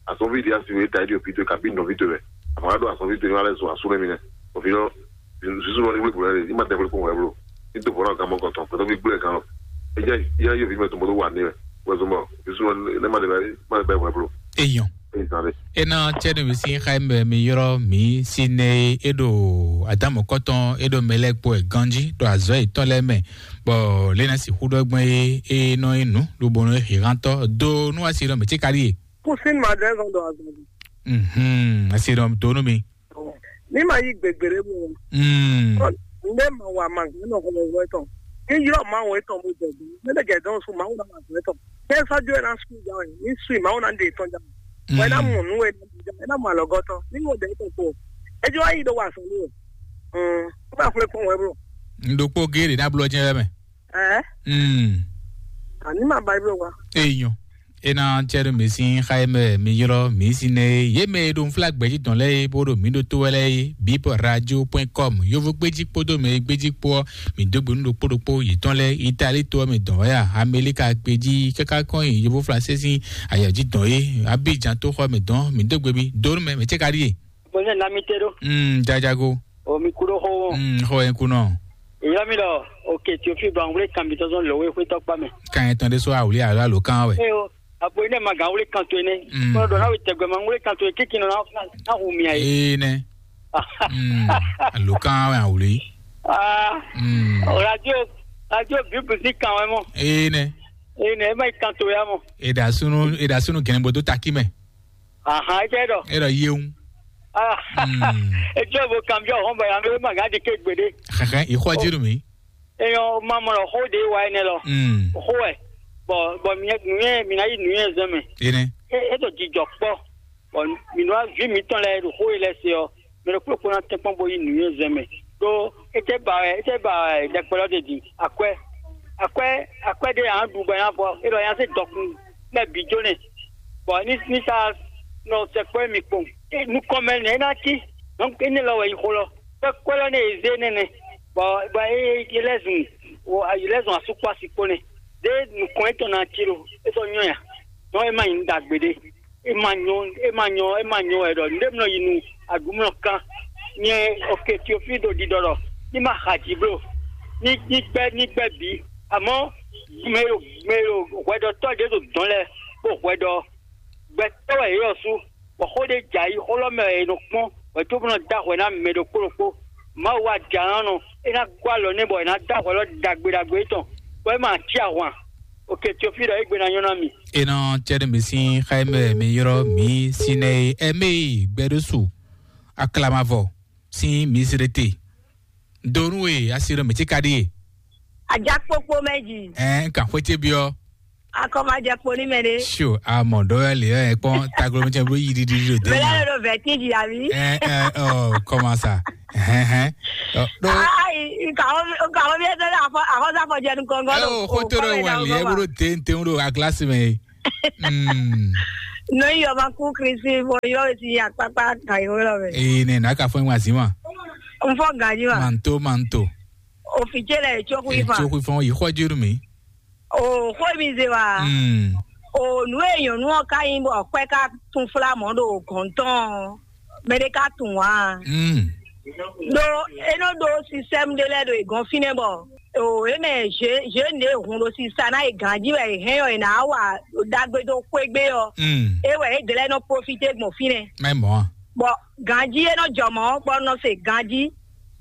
Azɔnví ɖi asi wɛ, ta ɛdi òfin to, kabi nɔví to wɛ. Àmọ́ ɖo azɔnví to, ní wà lɛ zun asú lɛ mi nɛ. Òfin lɔ, sísú lɔ ní wúlò bùrẹ́ rè, ní ma tɛ wúlò kpɔn wɛ blo. Ní to bɔ̀rọ̀ kan mɔ kɔtɔn, pẹ̀lú gbígbé kan lɔ. Ẹ jẹ́, yẹ́ yóò fi mẹ́ tó mọ́tò wà ní wɛ. Wẹ́ zun bọ̀, sísú lọ, ní ma lè bá, má lè bá ìwé blo. Eyɔn. Ní ìsàn rè. Ena tsɛnu misi xaimɛ mi yrɔ mi si ne e ɖo adamu kɔtɔn e ɖo mɛ lɛ kpo ɛ ganji ɖo azɔ etɔn lɛ mɛ, bɔ lena si xudɔ gbɛn e e nɔ yi nu lobonu e hihantɔ do nu asi ɖɔ mi tsi kali ye. Pusin ma ɖe zɔn ɖo azɔn. Mhm, asi ɖɔ do nu mi. Ní ma yí gbègbèrè mu. Mm. Ndé ma wa ma gbé nɔ xɔlɔ wɛ tɔn. Ní yrɔ ma wɛ tɔn mo jɛ gbé. Mɛ lɛ jɛ dɔn su ma wɛ na ma gbé tɔn. Ní sɔ́ jó ɛ ná sún ìjà wɛ, ní sún ìmáwó ná ɖe tɔn jà. Wɛ ná mɔ nú wɛ ná mɔ àlɔgɔtɔ ní wɔ dɛ tɔn kpo. Ejò wá yí ɖo wà sɔn ní wɛ. Ó bá fúnlẹ̀ kpɔn wɛ bro. N ɖokpó géèrè ná blɔ jẹ́ wɛ mɛ. Ɛ. Mm. Àní máa bá ibú wa. Eyɔn. Ena tsɛɖo mi sín xá e mɛ mi ylɔ́ mi sín nɛ é. Yě mɛ e ɖo nflá gbɛ̌jitɔn lɛ́ɛ é, bó ɖo mǐ ɖótó wɛ lɛ́ɛ é, bip radio point com. Yovo gbéjí kpódó mɛ e gbéjí kpó ɔ́, mǐ dó gbe nú ɖokpó ɖokpó yětɔn lɛ́ɛ. Itali to ɔ́ mɛ dɔn wɛ a, Amelika gbéjí káká kɔn nyi yovo Fransé sín ayɔ̌jidɔn é, Abidjan tó xɔ mɛ dɔn, mǐ dó gbe mi dó nú mɛ, mɛ cɛ́ ka ɖíe? Bɔnɛ lamite ɖo. Mm, jajago. O mi kuɖo xo wo. Mm, xo en kunɔ. Yɔ mi ɖɔ, oke Tiofi ba ŋwle kan bi tɔzɔn lɔ we xwe tɔkpa mɛ. Kan etɔn ɖe so awuli alo alo kan wɛ. Eyo, abo ine ma gan wle kan to ene. Mm. Kɔnɔ dɔ na we tɛgbɛ ma ŋwle kan to e kiki nɔ na na hu mi ayi. Ee nɛ. Mm, alo kan wɛ awuli. Ah. Mm. O radio, radio bibu si kan wɛ mɔ. Ee nɛ. Ee nɛ, e ma yi kan to ya mɔ. Eda sunu, eda sunu gɛnɛ bodo taki mɛ. Ahan, e jɛ dɔ. E dɔ yeun. Ah. Mm. E jɔ bo kan bi o hɔn ba ya me ma ga di ke gbede. Xɛxɛ, i xɔ jiru mi. Eyɔn ma mɔ lɔ xó ɖe wa enɛ lɔ. Mm. Xó wɛ. Bɔ bɔ mi nuyɛ mi na yi nuyɛ zɛn mɛ. Ene. E e to jijɔ kpɔ. Bɔ mi nɔ vi mi tɔn lɛ ɖo xó yi lɛ se ɔ. Mi ɖo kplɔkpɔ na tɛn kpɔn bo yi nuyɛ zɛn mɛ. Ɖo e tɛ ba wɛ e tɛ ba wɛ dɛkpɛ lɔ de di akwɛ akwɛ akwɛ de yan ɖu bɔ yan fɔ e lɔ yan se dɔkun lɛ bi jo nɛ. Bɔ ni ni sa nɔ sɛkpɔ mi kpɔn. E nukɔn mɛ nɛ e na ci. Donc e ne lɔ wɛ yi xó lɔ. Kpɛkpɛ lɔ ne e zé nɛnɛ. Bɔ bɔ e e lɛ zun o e lɛ zun asukpɔ asi kpo nɛ. De nukɔn etɔn na ci lo e sɔ nyɔ ya. Donc e ma nyi nu ɖagbe ɖe. E ma nyɔ e ma nyɔ e ma nyɔ wɛ ɖɔ nɖe mlɔ yi nu aɖumlɔ kan. Nyɛ oke Tiofi ɖo ɖiɖɔ ɖɔ ní ma xa dzi blo. Ní ní gbɛ ní gbɛ bǐ. Amɔ̌ mɛ ɖo mɛ ɖo hwɛɖɔtɔ́ ɖě ɖo dɔ̌n lɛ́ɛ kpó hwɛɖɔ gbɛtɔ́ wɛ yě ɔ́ sú, bɔ xó ɖé jɛ ayǐ xó lɔ mɛ wɛ è nɔ kpɔ́n wɛ cóbó nɔ dó ahwɛ ná mɛ ɖokpó ɖokpó. Mawu wá jǎ ná nɔ é ná gɔ́ alɔ nɛ́ bɔ è nǎ dó ahwɛ lɔ ɖagbe ɖagbe étɔn, bɔ é ma cí ahwan. Oke Tiofi ɖɔ égbé ná nyɔ́ ná mi. Enɔ cɛɖɛ mi sín xá e mɛ mi yrɔ mi Sinɛyi ɛmɛ gbɛɖósu aklamavɔ sín Misirete. Donu e asi ɖo mɛtí ka ɖíe. Ajakpokpo mɛ ji. Ɛɛ, n ka xwete biɔ. Akɔmajɛ kpo ní mɛ ɖe. Sio, amɔ ɖɔ ya le ɛ kpɔn taglo mɛ tɛ blo yi ɖiɖi ɖo de. Mɛ lɛ ɖo vɛtí ji abi. Ɛɛ ɛɛ ɔ kɔmasa. Hɛn hɛn. Ɔ ɖo. Ayi. Kàwọ́ bí ẹ tẹ́lẹ̀ àfọ́sá fọjẹ́ nìkan gọ́dọ̀. Ẹ o, xó tó lọ wà lì ẹ búrò téńtéń ɖo aglásí mɛ. Mm. Nɔ yi ɔba kú Kristi bɔ yɔ si akpakpa ka yi wɛ lɔ mɛ. Ee, ne na ka fɔ wa zi ma. N fɔ gaji ma. Manto, manto. O fi ce lɛ tso ku ifa. Tso ku ifa yi xɔ jiru mi. O xɔ mi ze wa. Mm. O nu e nyɔnu ɔ ka yin bɔ kpɛ ka tun fla mɔ ɖo gɔntɔn. Mɛ ɖe ka tun wa. Mm. Ɖo e nɔ ɖo sistɛmu ɖe lɛ́ɛ ɖo e gɔn fínɛ́ bɔ o e mɛ zě zě nǔ e hun ɖo sisa ná e gǎn jí wɛ e hɛn ɔ e ná wa ɖagbe dó xwé gbé ɔ. Mm. E wɛ e dlɛ́ nɔ profité gbɔn fínɛ́. Mɛ mɔ. Bɔ gǎn jí e nɔ jɔ mɔ̌ bɔ nɔ se gǎn jí.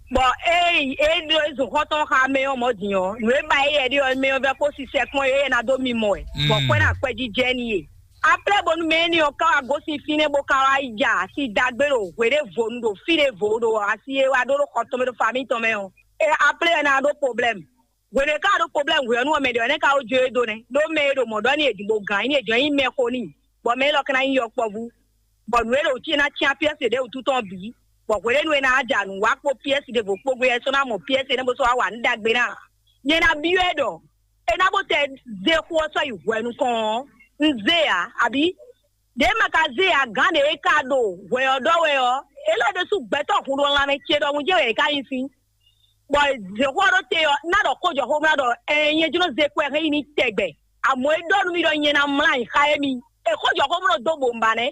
Bɔ e e ɖo e zun xɔ́ntɔn xa mɛ ɔ́ mɔ̌ din ɔ́, nǔ e ba e yɛ ɖi ɔ mɛ ɔ́ vɛ kó sisɛ kpɔ́n e e ná dó mi mɔ ɛ. Bɔ Mm. Kpɛ́ ná kpɛjí jɛ n'i e. Aplɛ́ bónú mɛ énɛ́ ɔ́ ka wá gosín fínɛ́ bó ka wá ya asi dagbe ɖo hwe ɖěvo nu ɖo fí ɖěvo ɖo asi e wá ɖó ɖo xɔ tɔn mɛ ɖo fami tɔn mɛ ɔ́. E aplɛ́ ɔ́ ná ɖó problɛ́mu. Hwe ɖě ka ɖó problɛ́mu hwe ɔ́ nu ɔ́ mɛ ɖě ɔ́ nɛ́ ka wó jó e dó nɛ́. Ɖó mɛ e ɖo mɔ̌ ɖɔ n'i e din bó gǎn nyí ni e jɔ̌ nyí mɛxo n'i, bɔ mɛ élɔ́ ka ná nyí yɔkpɔ́vú. Bɔ nǔ e ɖo wǔ cí e ná cyán pyɛ́si ɖě wútu tɔn bǐ, bɔ hwe ɖě nu e ná ja nǔ wá kpó pyɛ́si ɖěvo kpó gbé ɛ sɔ́ ná mɔ pyɛ́si énɛ́ bó sɔ́ wá wa nǔ ɖagbe ná. Nyɛ ná byɔ́ ɛ ɖɔ é ná bó tɛ zé xó ɔ́ sɔ́ yi hwɛ nukɔn ɔ́, un zé ǎ, abǐ? Ɖě ma ka zé ǎ, gǎn ɖě e ka ɖo hwɛ ɔ́ ɖɔ wɛ ɔ́, é lɛ́ ɖésú gbɛtɔ́ hun ɖo lanmɛ ce ɖɔhun jɛ́n wɛ è ká nyi sín. Bɔ zě xó ɔ́ ɖó te ɔ́, ná ɖɔ xó jɔ xó mlá ɖɔ ɛɛ nyɛ jló zé kɔ ɛ hɛn yi ní tɛgbɛ. Amɔ̌ é ɖɔ nú mì ɖɔ nyɛ ná mlá nyi xá émí. E xó jɔ xó mló dó bǒ un ba nɛ́.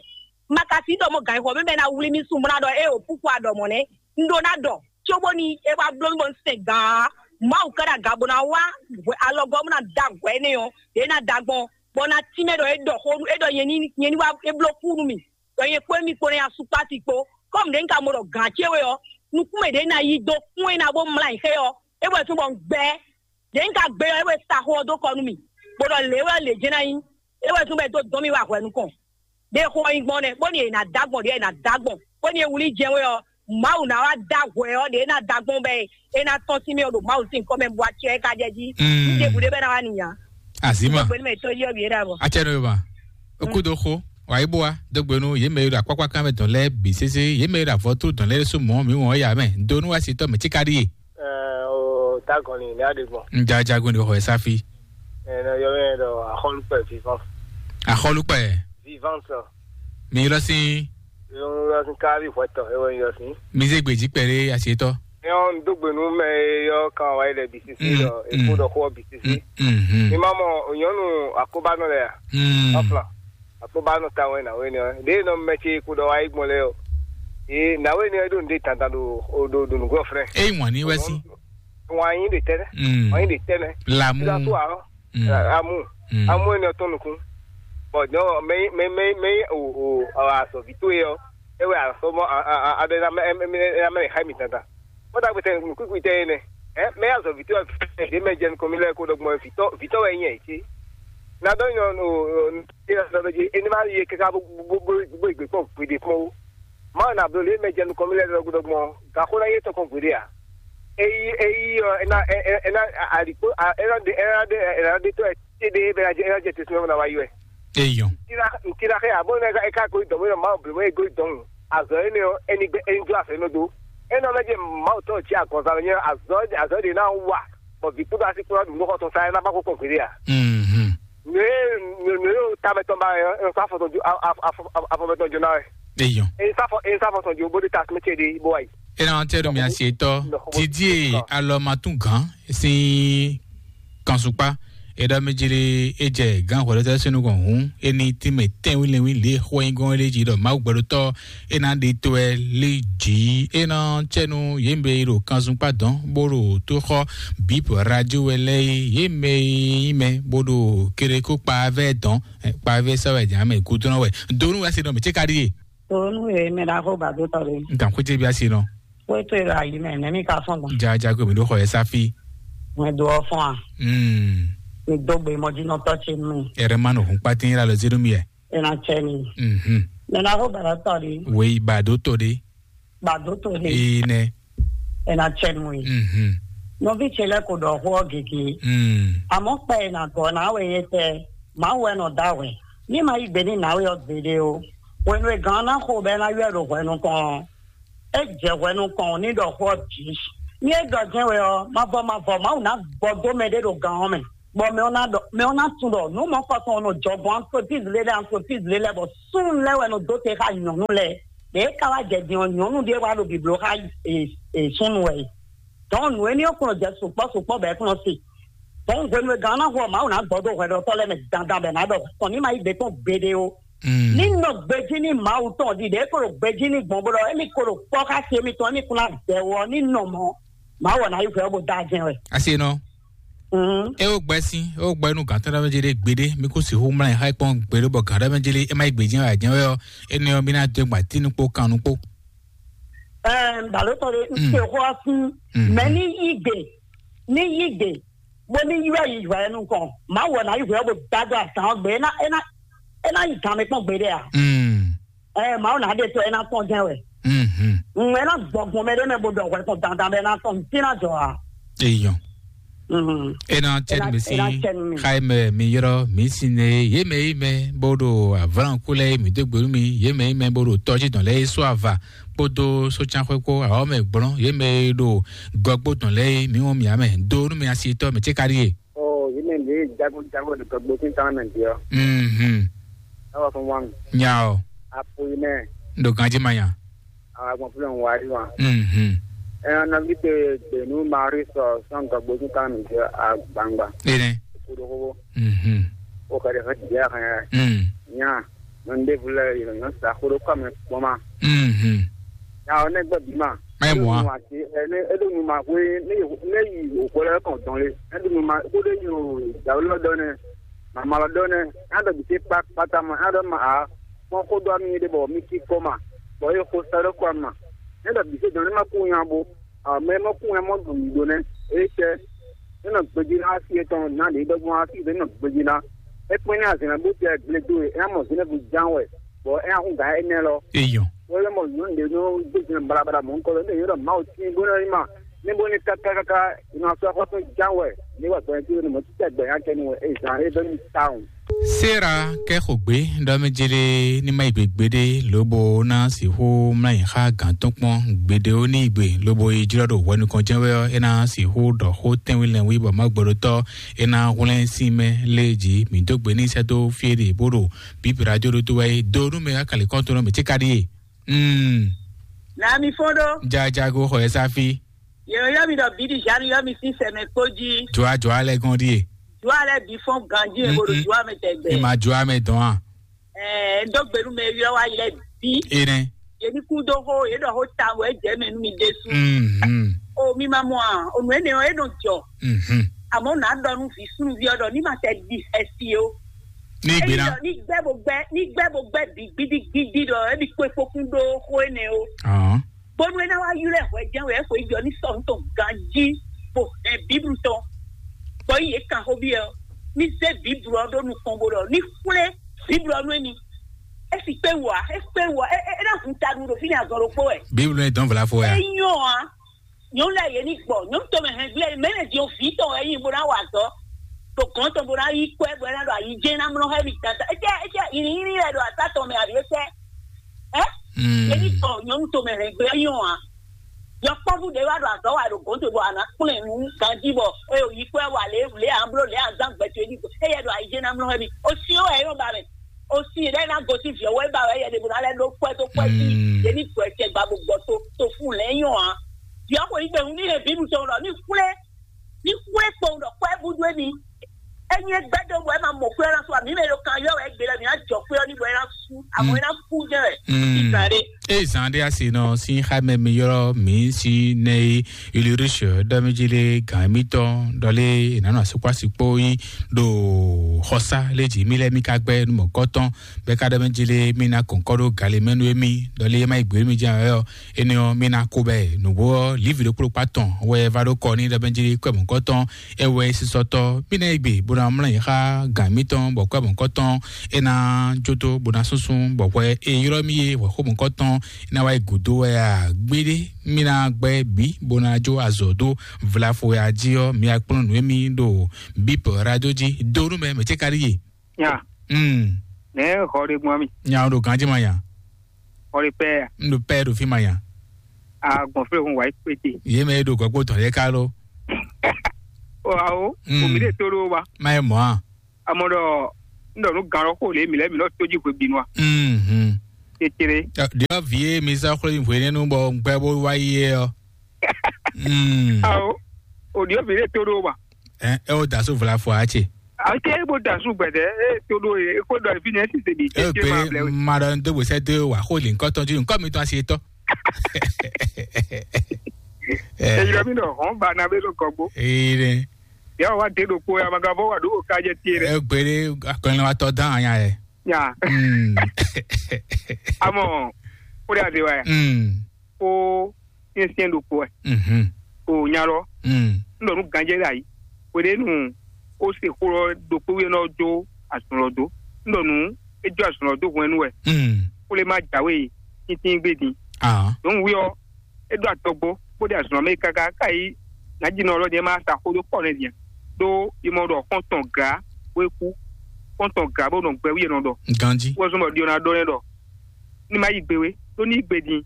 Ma ka sí ɖɔ mɔ gǎn xɔ mɛ bɛ ná wlí mì sun bó ná ɖɔ é o púpọ̀ aɖɔ mɔ̌ nɛ́. Un ɖó ná ɖɔ cóbóni é wá bló mì bɔ un sɛn gǎn. Mawu ka ɖo aga bó ná wá alɔgɔ́ bó ná da hwɛ énɛ́ ɔ́, yě ná da gbɔn, bɔ ná tínmɛ ɖɔ é ɖɔ xó é ɖɔ nyɛ ní nyɛ ní wá é bló kú nú mì. Ɖɔ nyɛ kpó émí kpó ná nyi asukpási kpó. Kɔ́mu ɖě un ka mɔ ɖɔ gǎn ce we ɔ́, nukún mɛ ɖě ná yi dó kún é ná bó mlá nyi xé ɔ́, é wɛ fín bɔ un gbɛ́. Ɖě un ka gbé ɔ́, é wɛ sa xó ɔ́ dó kɔ nú mì, bó ɖɔ lě wɛ lě jɛ́n ná nyí. É wɛ zɔ́n bɔ é dó dɔn mì wá hwɛ nukɔn. Ɖě xó ɔ́ nyí gbɔn nɛ́, bóni è nǎ dó agbɔn ɖě è nǎ dó agbɔn, bóni è wlí jɛ́n wé ɔ́, Mawu ná wá dó hwɛ ɔ́, ɖě é ná dó agbɔn bɛ́ é ná tɔ́n sín mì ɔ́ ɖo Mawu sín kɔ́ mɛ bó wá cɛ ká jɛ jí. Mm. Ní ɖěbǔ ɖé bɛ́ ná wá nìyá. Azima. Gbé ní mɛ tó yɔ bǐ é ɖa bɔ. Atsɛ nɔ yoma. Okudo xo, wa yi bua dogbe nu ye mɛ yi ɖo akpakpa kan mɛ dɔn lɛ bi sese ye mɛ yi ɖo avɔtu dɔn lɛ su mɔ mi wɔn ya mɛ do nu wa si tɔ mɛ tsika ɖi ye. Ɛ, o ta gɔn ni ne aɖe gbɔn. N ja jagun de xɔ safi. Ɛ, ne yɔ mɛ ɖɔ axɔlukpɛ vivant. Axɔlukpɛ. Vivant. Mi lɔ si. Yɔ lɔ si ka vi hwɛtɔ ewɔ yɔ si. Mi ze gbeji kpɛɖe asietɔ. Yɔ n do gbe nu mɛ yɔ kan wa yi lɛ bi sisi Mm, dɔ mm. Epo dɔ xɔ bi sisi. Mm, mm. Mi ma mɔ nyɔnu akobanɔ lɛ ya. Mm. Ɔfla. Akobanɔ ta wɛ na wɛ ni ɔ. De nɔ mɛ ce ko dɔ wa yi gbɔn lɛ o. Ee, na wɛ ni ɔ do n de tantan do o do do nugbɔ frɛ. Eyi ŋwan ni wɛ si. Ŋwan yi de tɛnɛ. Mm. Ŋwan yi de tɛnɛ. Lamu. Sisa to arɔ. Mm. Amu. Mm. Amu ene ɔtɔn nukun. Bɔn dɔn mɛ mɛ mɛ mɛ o o azɔvi to ye ɔ. Ewɛ asɔmɔ a a a bɛ na mɛ mɛ mɛ mɛ ha mi tata. Kɔta gbɛtɛ nukukui tɛ ene. Ɛ mɛ azɔvi to ɛ de mɛ jɛ nukɔn mi lɛ ko dɔgbɔn vitɔ vitɔ wɛ nyɛ ce. Na dɔ nyɔ no no ena dɔ ji eni ma ye kaka bo bo bo bo igbe kpɔ gbede kpɔ. Ma na blo le mɛ jɛ nukɔn mi lɛ dɔgbɔn dɔgbɔn. Gako na ye tɔkɔn gbede a. Eyi eyi ɔ ena ena alikpo ena de ena de ena de tɔ ɛ te de bɛ na jɛ ena jɛ te sunɔ na wa yi wɛ. Eyɔn. Ntira ntira xe abo ne ka eka ko dɔn mo ma blo mo ego dɔn azɔ ene o eni gbe eni do afɛ no do. Ena mɛ je ma o tɔ ti agɔnza me nye azɔ azɔ de na wa bɔ vi kudo asi kura dun nɔkɔ tɔn sa ena ba ko kɔn gbede a. Mhm. Ne ne ne o ta me tɔn ba e fa fɔ tɔn jo afɔ me tɔn jo na wɛ. Eyɔn. E fa fɔ e fa fɔ tɔn jo bo de ta me ce de bo wa yi. Ena tɛ do mi asi etɔ didi e alɔ ma tún gan si kanṣukpá. Eɖɔ mɛ jili e jɛ gán hwɛɖɔtɔ sínú gɔn hǔn, e ní tínmɛ tɛ́nwínlɛ́nwín lě xwɛnyígɔ́n lé jí ɖɔ Mawu gbɛɖotɔ́ e ná ɖe to wɛ lé jǐ. E ná cɛ́nu yě mɛ e ɖo kanzunpa dɔn bó ɖo tó xɔ bíp radio wɛ lɛ́ɛ é, yě mɛ e nyí mɛ bó ɖo kerekó kpavɛ dɔn, kpavɛ sɛ́ wɛ jǎ mɛ gúdúnɔ wɛ. Donu wɛ se nɔ mɛ cé ka ɖíe. Donu e mɛ ɖaxó ba dó tɔ ɖe. N kan xwé cé bí asi nɔ. Xwé tó e ɖo ayi mɛ nɛ̌ mi ka fɔ́n gbɔn. Jajago mi ɖó xɔ yɛ sáfí. Mɛ do ɔ fɔn a? Mm. Mi dó gbe mɔjínɔtɔ ce nú mi. Ɛrɛ ma nɔ hun kpatín la lɔ zénú mi yɛ. Ena cɛ mi. Mhm. Mɛ na ko bɛrɛ tɔ di. Wei ba do to de. Ba do to de. Ee nɛ. Ena cɛ mi. Mhm. Nɔvi ce lɛ ko dɔ xɔ gege. Mm. Amɔ kpɛ ena gɔ na we ye tɛ. Ma wɛ nɔ da wɛ. Ni ma yi gbe ni na we ɔ gbede o. Wenu e gan na xo bɛ na yɔ do hwɛ nukɔn. E jɛ hwɛ nukɔn ni dɔ xɔ bi. Ní é ɖɔ jɛ́n wɛ ɔ́, mavɔ mavɔ Mawu ná gbɔ dó mɛɖé ɖo gǎn ɔ́ mɛ, bɔ mɛ ɔ́ ná ɖɔ, mɛ ɔ́ ná tunwun ɖɔ nǔ mɔ̌kɔtɔn ɔ́ nɔ jɔ gbɔn entreprise lɛ́ɛ ɖe, entreprise lɛ́ɛ lɛ́ɛ, bɔ súnnu lɛ́ɛ wɛ nɔ dó te xá nyɔ̌nu lɛ́ɛ. Ɖě é ka wá jɛ din ɔ́, nyɔ̌nu ɖé wá ɖo bǐbló xá e, e súnnu wɛ e. Dɔn nǔ éní ɔ́ kplɔ́n jɛ sukpɔ́ sukpɔ́ bɔ é kplɔ́n se. Dɔn hwenu e gǎn ɔ́ ná hu ɔ́, Mawu ná gbɔ dó hwɛɖɔtɔ́ lɛ́ɛ mɛ dandan bɔ è nǎ ɖɔ kɔn ní ma yí gbe tɔn gbeɖé ó. Ní nɔ gbejí ní Mawu tɔn ɖiɖe, é ko ɖo gbejí ní gbɔn bó ɖɔ émí ko ɖo kpɔ́ xá sí émítɔn, émí kún ná dɛ wɔ ní nɔ mɔ̌. Mawu ɔ́ ná yí hwɛ ɔ́ bó dá jɛ́n wɛ. Asi nɔ. Mhm. E wo gbɛ si, e wo gbɛ nu gantɔ ɖe mɛ jeli gbeɖe, mi ko si hu mla ha kpɔn gbeɖe bɔ gantɔ ɖe mɛ jeli e ma yi gbeji wa jɛn wɛ ɔ, ene ɔ mi na do gba tinu kpo kanu kpo. Ɛɛ, balotɔ de n se xɔ asi. Mhm. Mɛ ni yi gbe, ni yi gbe, bo ni yi wa yi wa nu kɔn. Ma wɔ na yi hwɛ bo da do atan gbe, e na, e na, e na yi gan mi kpɔn gbeɖe a? Mm. Ɛɛ, Mawu ná ɖe to ɛ ná tɔn jɛ́n wɛ. Mhm. Ŋmɛ ná gbɔgbɔn mɛ ɖé mɛ bo ɖɔ hwɛ tɔn dandan bɛ ná tɔn dín ná jɔ a? Eyɔn. Mhm. E ná tɛ Ena- mi si ena tɛ mi. Xa mɛ mi yɔrɔ mi si ne ye mɛ yi mɛ bo ɖo avlan ku lɛ mi dó gbelu mi ye mɛ yi mɛ bo ɖo tɔjí dɔn lɛ yi sɔ ava kpódó sócánxwé kpó awɔ mɛ gblɔn ye mɛ yi ɖo gɔgbó dɔn lɛ yi mi wɔn mi amɛ do nu mi asi tɔ mi tse ka ɖi ye. Ɔ, yě mɛ ɖě jago jago ɖo tɔgbo sín tán mɛ ɖě ɔ́. Mhm. Ewɔ fún wa mi. Nya ɔ. Apo yi mɛ. N ɖo ganjí ma nya. Àwọn agbọ̀n fúnlẹ̀ ń wá rí wa. Mhm. Ẹ ɔn nɔví te gbènú Marí sɔ sɔn tɔgbo sín tán mɛ ɖě agbangba. Ene. Koɖo kókó. Mhm. O kɛɖɛ fɛ jɛ hɛn. Mm. Nya. Nɔ ɖe vlɛ yìí nɔ sa koɖo kɔ mɛ kpɔn ma. Mhm. Nya ɔ nɛ gbɛ bí ma. Mɛ mɔ a? Ati ɛ ne eɖo nu ma hwe ne ne yi o kɔ lɛ kɔn dɔn le. Eɖo nu ma ko ɖe yi o dawu lɔ dɔ nɛ. Mama lɔ dɔ nɛ. A dɔ bi se kpa kpata ma a dɔ ma a. Kpɔn ko dɔ mi ɖe bɔ mi ki kɔ ma. Bɔ ye ko sa ɖe kɔ ma. Ne dɔ bi se dɔn ne ma ku nya bo. A mɛ ma ku nya mɔ dɔ mi do nɛ. E cɛ. Ne nɔ gbeji na asi etɔn na ɖe dɔ gbɔn asi de ne nɔ gbeji na. E kpɛn ne azɛn na bo tɛ gble do e. E na mɔ zɛnɛ bu jan wɛ. Bɔ e na hun gan enɛ lɔ. Eyɔn. Wọ́n lé mɔ nyɔ̌nu ɖě nɔ gbé jɛn balabala mɔ̌ kɔ lɔ, ní yɔ́ ɖɔ Mawu tín bó nɔ yi ma, ní bó ní káká káká, ní ma sɔ́ xɔ́sún ján wɛ, ní wà gbɛ̀yìn tí ó ní mɔ títí gbɛ̀yìn akɛni wɛ, é zan é bɛ́ ní tawun. Sera kɛ xo gbe ɖɔ mɛ jele ní ma yi gbe gbeɖe lobo ná sixú mlá yi xa gǎn tɔn kpɔn gbeɖe ó ní yi gbe lobo yi jlɔ́ ɖo hwɛ nukɔn jɛ́n wɛ ɔ́, é ná sixú ɖɔ xó tɛ́nwí lɛ́nwí bɔ má gbɔɖótɔ́ é ná hwlɛ́n sín mɛ lé jí mǐ dó gbe ní sɛ́ dó fí é ɖe bó ɖo bíbí radio ɖó tó wɛ é dó nú mɛ akali kɔn tó nɔ mɛ tí ka ɖíe. Mm. Na mi fɔn ɖo. Jajago xɔ ɛ sáfí. Yɛrɛ yɔ mi ɖɔ bídí Jean yɔ mi sín sɛmɛ kpó jí. Jɔa jɔa lɛ gɔn ɖíe. Jɔa lɛ bí fɔn ganjí ɛ bolo jɔa mɛ tɛgbɛ. Ìmà jɔa mɛ dɔn a. Ɛɛ, dó gbenu mɛ yɔ wa yi lɛ bí. Enɛ. Yɛ ní kú dó xó, yɛ ɖɔ xó ta wɔ ɛ jɛ mɛ nú mi ɖésú. Mm. O mi ma mɔ a, o nù ɛnɛ ɔ, e nɔ jɔ. Mhm. Àmọ́ nà ɖɔ nú vǐ súnúví ɔ́ ɖɔ ní ma tɛ ɖi xɛsi o. Ní ìgbé ná. Ní gbẹ́ bó gbẹ́, ní gbẹ́ bó gbẹ́ bǐ gbídígbídí ɖɔ é bí kpé kpókún ɖó xó énɛ́ ó. Ahɔn. Bónú é ná wá ylɔ́ ɛ hwɛjɛ́n wɛ é xweyǐgbe ɔ́ ní sɔ́ nǔ tɔn ganjí bó hɛn Bíblu tɔn. Bɔ yí yě kan xó byɔ́ ɔ́, ní zé Bíblu ɔ́ ɖó nukɔn bó ɖɔ ní xwlé Bíblu ɔ́ nú émí. É si kpé wǔ ǎ, é kpé wǔ ǎ, é é é ná hun ta nú ɖo fínɛ́ azɔn ɖokpó wɛ. Bíblu é dɔn vla fo wɛ É a? Nyɔ́ ǎ. Nyɔ̌nu lɛ́ɛ yě ní gbɔ. Nyɔ̌nu tɔn mɛ hɛn gblé mɛ lɛ́ din vǐ tɔn wɛ é nyí bó ná wa azɔ̌. Ɖo gɔ̌n tɔn bó ná yí kɔ ɛ bó ná ɖo ayi jɛ́n ná mlɔ́ xá mì dandan. Étɛ́ étɛ́ yǐnyínyí lɛ́ɛ ɖo asá tɔn mɛ abǐ étɛ́? Ɛ? Mm. Yě ní gbɔ nyɔ̌nu tɔn mɛ hɛn gblé nyɔ́ ǎ. Yɔkpɔ́vú ɖě wá ɖo azɔ̌ wa ɖo gɔ̌n tɔn bɔ a nǎ kplɔ́n ɛ nú ganjí bɔ é ɖo yi kɔ ɛ wa lě lě a bló lě a zán gbɛ towe ní gbɔ. Éyɛ́ ɖo ayi jɛ́n ná mlɔ́ xá mì. O syɔ́n wɛ é nɔ ba mɛ. O si ɖe na gosi viɔ wɛ ba wɛ yɛ de bo na lɛ ɖo kpɛ to kpɛ si. Mm. Ye ni gbɔ ɛkɛ gba bo gbɔ to to fun lɛ nyɔ a. Viɔ ko yi gbɛhun ni he bibu tɔn lɔ ni xwlɛ ni xwlɛ kpɔn ɖɔ kpɛ bu do ni. Enyi gbɛ do bɔ ɛ ma mɔ kpɛ na so ami mɛ ɖo kan yɔ wɛ gbe lɛ mi na jɔ kpɛ ni bɔ ɛ na su amɔ ɛ na ku jɛ wɛ. Mm. Isa de. Eye zan ɖe asi nɔ si xa mɛ mi yɔrɔ mi si nɛ yi Ulrich ɖɔmijile gan mitɔn ɖɔle nana sukpasi kpo yi ɖo xɔsa le dzi mi lɛ mi ka gbɛ numɔgɔtɔn bɛ ka ɖɔmijile mi na kɔnkɔ ɖo gali mɛ nu emi ɖɔle ma yi gbe mi dzi ayɔ ene ɔ mi na ko bɛ nugbo ɔ livi ɖo kplo kpa tɔn wɛ va ɖo kɔ ni ɖɔmijile kɔ mɔgɔtɔn ewɛ sisɔtɔ mi na yi gbe bo na mlɔ yi xa gan mitɔn bɔ kɔ mɔgɔtɔn ena joto bo na sunsun bɔ hwɛ e ylɔ mi ye hwɛ xo mɔgɔtɔn ena wa yi gudo wɛ a gbeɖe mi na gbɛ bi bo na jo azɔ do vlafo ya ji ɔ mi akplɔ nu emi ɖo bip radio ji do nu mɛ mɛ tse ka ɖi ye. Nya. Mm. Ne xɔ ɖe gbɔn mi. Nya o ɖo ganji ma nya. Xɔ ɖe pɛ ya. N ɖo pɛ ɖo fi ma nya. Agbɔn fɛ́ hun wǎ yi kpéte. Yě mɛ e ɖo gɔ̌gbó tɔn lɛ́ɛ ká ló. Ó wá ó, Mm. omi ɖé tó ɖó wa. Má yɛ mɔ̌ a? Amɔ ɖɔ, ń ɖɔ nú gan lɔ xó lě mǐ lɛ́ɛ mǐ nɔ tó jí hwebǐnu a? Mhm. Kékeré. Ɖiɔ vǐ e mi zá xwlé hwenɛ́nu bɔ gbɛ bó wá yi é ɔ́. Mm. Awo, òɖiɔ vǐ ɖé tó ɖó wa. Ɛ ɛ o da so vla fɔ a ce. Ake bó da su gbɛdɛ, e tó ɖó e kó ɖɔ fínɛ́ sísè bǐ Ɛ kékeré ma blɛ gbé wé. Ma ɖɔ dó gbèsè dó wà xó lè ŋkɔ tɔjú ŋkɔ mi tɔn asi tɔ. Èyí lɔ mi nɔ hɔn ba na bɛ ló kɔ gbó. Ee ɖe. Yà wá dé ɖokpó ya ma ka fɔ wà ɖó ká jẹ tiẹ̀ rẹ. Ɛ gbére akɔnlɛ wa tɔ dán anya yɛ. Ya. Mm. Amɔ, ó dé àti wa ya. Mm. Kó syɛnsyɛn ɖokpó wɛ. Mhm. O nya lɔ. Mm. N ɖɔ nú ganjɛ ɖe ayi. Wěɖénu ó se xó lɔ ɖokpó wíyɛ́ nɔ jó azɔn lɔ dó. N ɖɔ nú é jó azɔn lɔ dó hwɛnnu wɛ. Mm. Xwlé má jǎwe tíntín gbé din. Ah. Dɔn wí ɔ́, é ɖó atɔgbó, bó ɖe azɔn mɛ káká káyí. Nǎjínɔ ɔlɔdì ɛ má sa xó dó kpɔ nɛ din. Ɖó yi mɔ ɖɔ xɔntɔn gǎ wé kú. Xɔntɔn gǎ bó nɔ gbɛ wíyɛ nɔ ɖɔ. Ganji. Wɔ zɔn bɔ ɖiɔ ná ɖɔ nɛ ɖɔ ní má yi gbe wé, ɖó ní yi gbe din.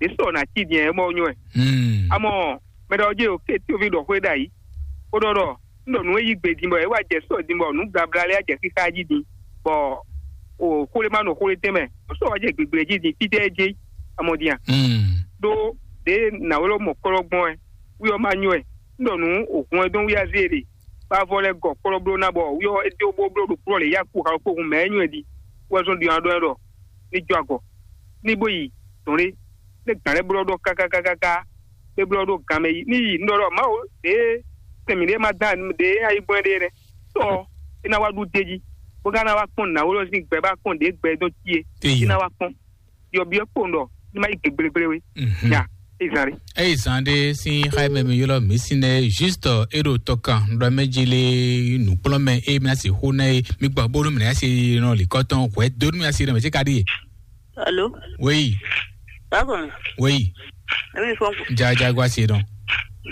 Ɖě sɔ ná cí din ɛ mɔ nyɔ ɛ. Hmm. Amɔ mɛ ɖɔ jɛ o ké tí o fi ɖɔ xwé ɖ'ayǐ. Ó ɖɔ ɖɔ n ɖɔ nǔ e yí gbe din bɔ é wá jɛ sɔ din bɔ nǔ blabla lɛ́ɛ jɛ xíxá jí din, bɔ o xwlé má nɔ xwlé tɛn mɛ, o sɔ wá jɛ gbigble jí din títɛ é jí amɔ din a. Hmm. Ɖó ɖě nǎwélɔ́ mɔ kɔ́lɔ́ gbɔn ɛ, wí ɔ́ má nyɔ ɛ. N ɖɔ nǔ o hun ɛ dɔn wí azé ɖe, bá vɔ lɛ́ gɔ kɔ́lɔ́ bló ná bɔ wí ɔ́ é dó bó bló ɖo kúlɔ lě yá kú xalɔ́ kpó hun mɛ é nyɔ ɛ din, wɛ zɔn ɖi ɔ́ ɖɔ ɛ ɖɔ ní jó agɔ, ní bó yi dɔn ɖé, ní gǎn lɛ́ɛ blɔ́ ɖɔ kákákákáká, é blɔ́ ɖó gan mɛ yi ní yi nɔ ɖɔ Mawu ɖě sɛn mǐɖée ma dán ɖě ayǐgbɔ́n ɖé nɛ́. Sɔ é ná wá ɖu d'é jí, bó ka ná wá kpɔ́n nǎwó lɔ sín gbɛ bá kpɔ́n ɖě gbɛ dɔn cí é, é ná wá kpɔ́n. Yɔ byɔ́ kpowun ɖɔ ní má yi gěgblégbléwé. Mhm. Ya, é zan ɖé. Eyi zan ɖé sín xá mɛ mi ylɔ́ mǐ sín nɛ́ juste é ɖo tɔkan ɖɔ mɛ jí lé nǔkplɔ́mɛ é mi ná sixú ná é mi gbɔ bónú mǐ ná se nɔ lǐkɔ́tɔn hwɛ dónú mi asi nɔ mɛ tí ka ɖíe. Alo. Wéyi. Bákan. Wéyi. Èmi fɔn. Jaja gwa se nɔ.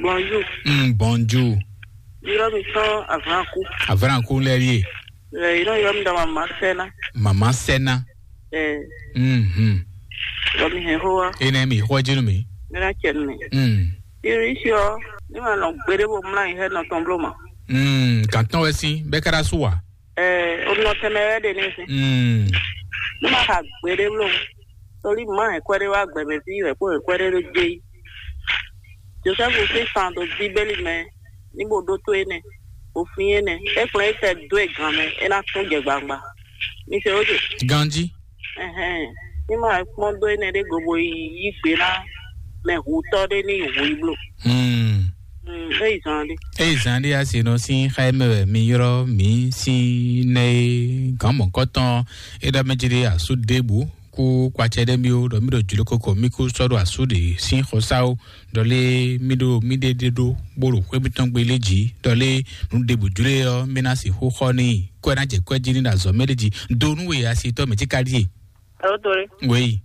Bonjour. Mm, bonjour. Ylɔ́ mi sɔn avranku. Avranku lɛ ɖíe. Ɛ, ylɔ́ ylɔ́ mi dɔ mama sɛna. Mama sɛna. Ɛ. Mhm. Ylɔ́ mi hɛn xó wa. Ene mi xɔ jinu mi. Mena cɛ mi. Mm. Iri si ɔ, ni ma nɔ gbede bo mla yi hɛ nɔ tɔn blo ma. Mm, gantɔn wɛ si, bɛ kara su wa. Ɛɛ, o nɔ tɛmɛ wɛ ɖe ne se. Mm. Ne ma xa gbeɖé blo, toli ma hɛn kwɛɖé wá gbɛmɛ fí wɛ kó hɛn kwɛɖé ɖo dze yi. Josɛfu sín fan ɖo Bíbélì mɛ, ní bó ɖótó énɛ́, bó flín énɛ́, é kplɔ́n é tɛ dó e gan mɛ, é ná tún jɛ gbangba. Mi se ó se. Ganji. Ɛhɛn, ní ma kpɔ́n dó énɛ́ ɖé go bo yi yí gbe ná mɛ hutɔ́ ɖé ní yi hu yi blo. Hmm. Mm, é yi zɔn ɖé. Eyi zan ɖé asi nɔ sín xa mɛ wɛ mi yrɔ mi sín nɛ gán mɔkɔtɔn e ɖɔ mɛ jí ɖé asu ɖěbǔ kú kpatsɛ ɖé mi ó ɖɔ mi ɖo jló koko mi kú sɔ́ ɖo asu ɖe sín xɔsáwo ɖɔ lé mi ɖo mi ɖe ɖe ɖó bó ɖo xwé mitɔn gbe lé jí ɖɔ lé nu ɖěbǔ jló ɔ mi ná sixú xɔ ní kɔ ɛ ná jɛ kɔ ɛ jí ní ɖo azɔ mɛ ɖé jí do nú we asi tɔ mɛ jí ka ɖíe. Alo tore. Wéyi.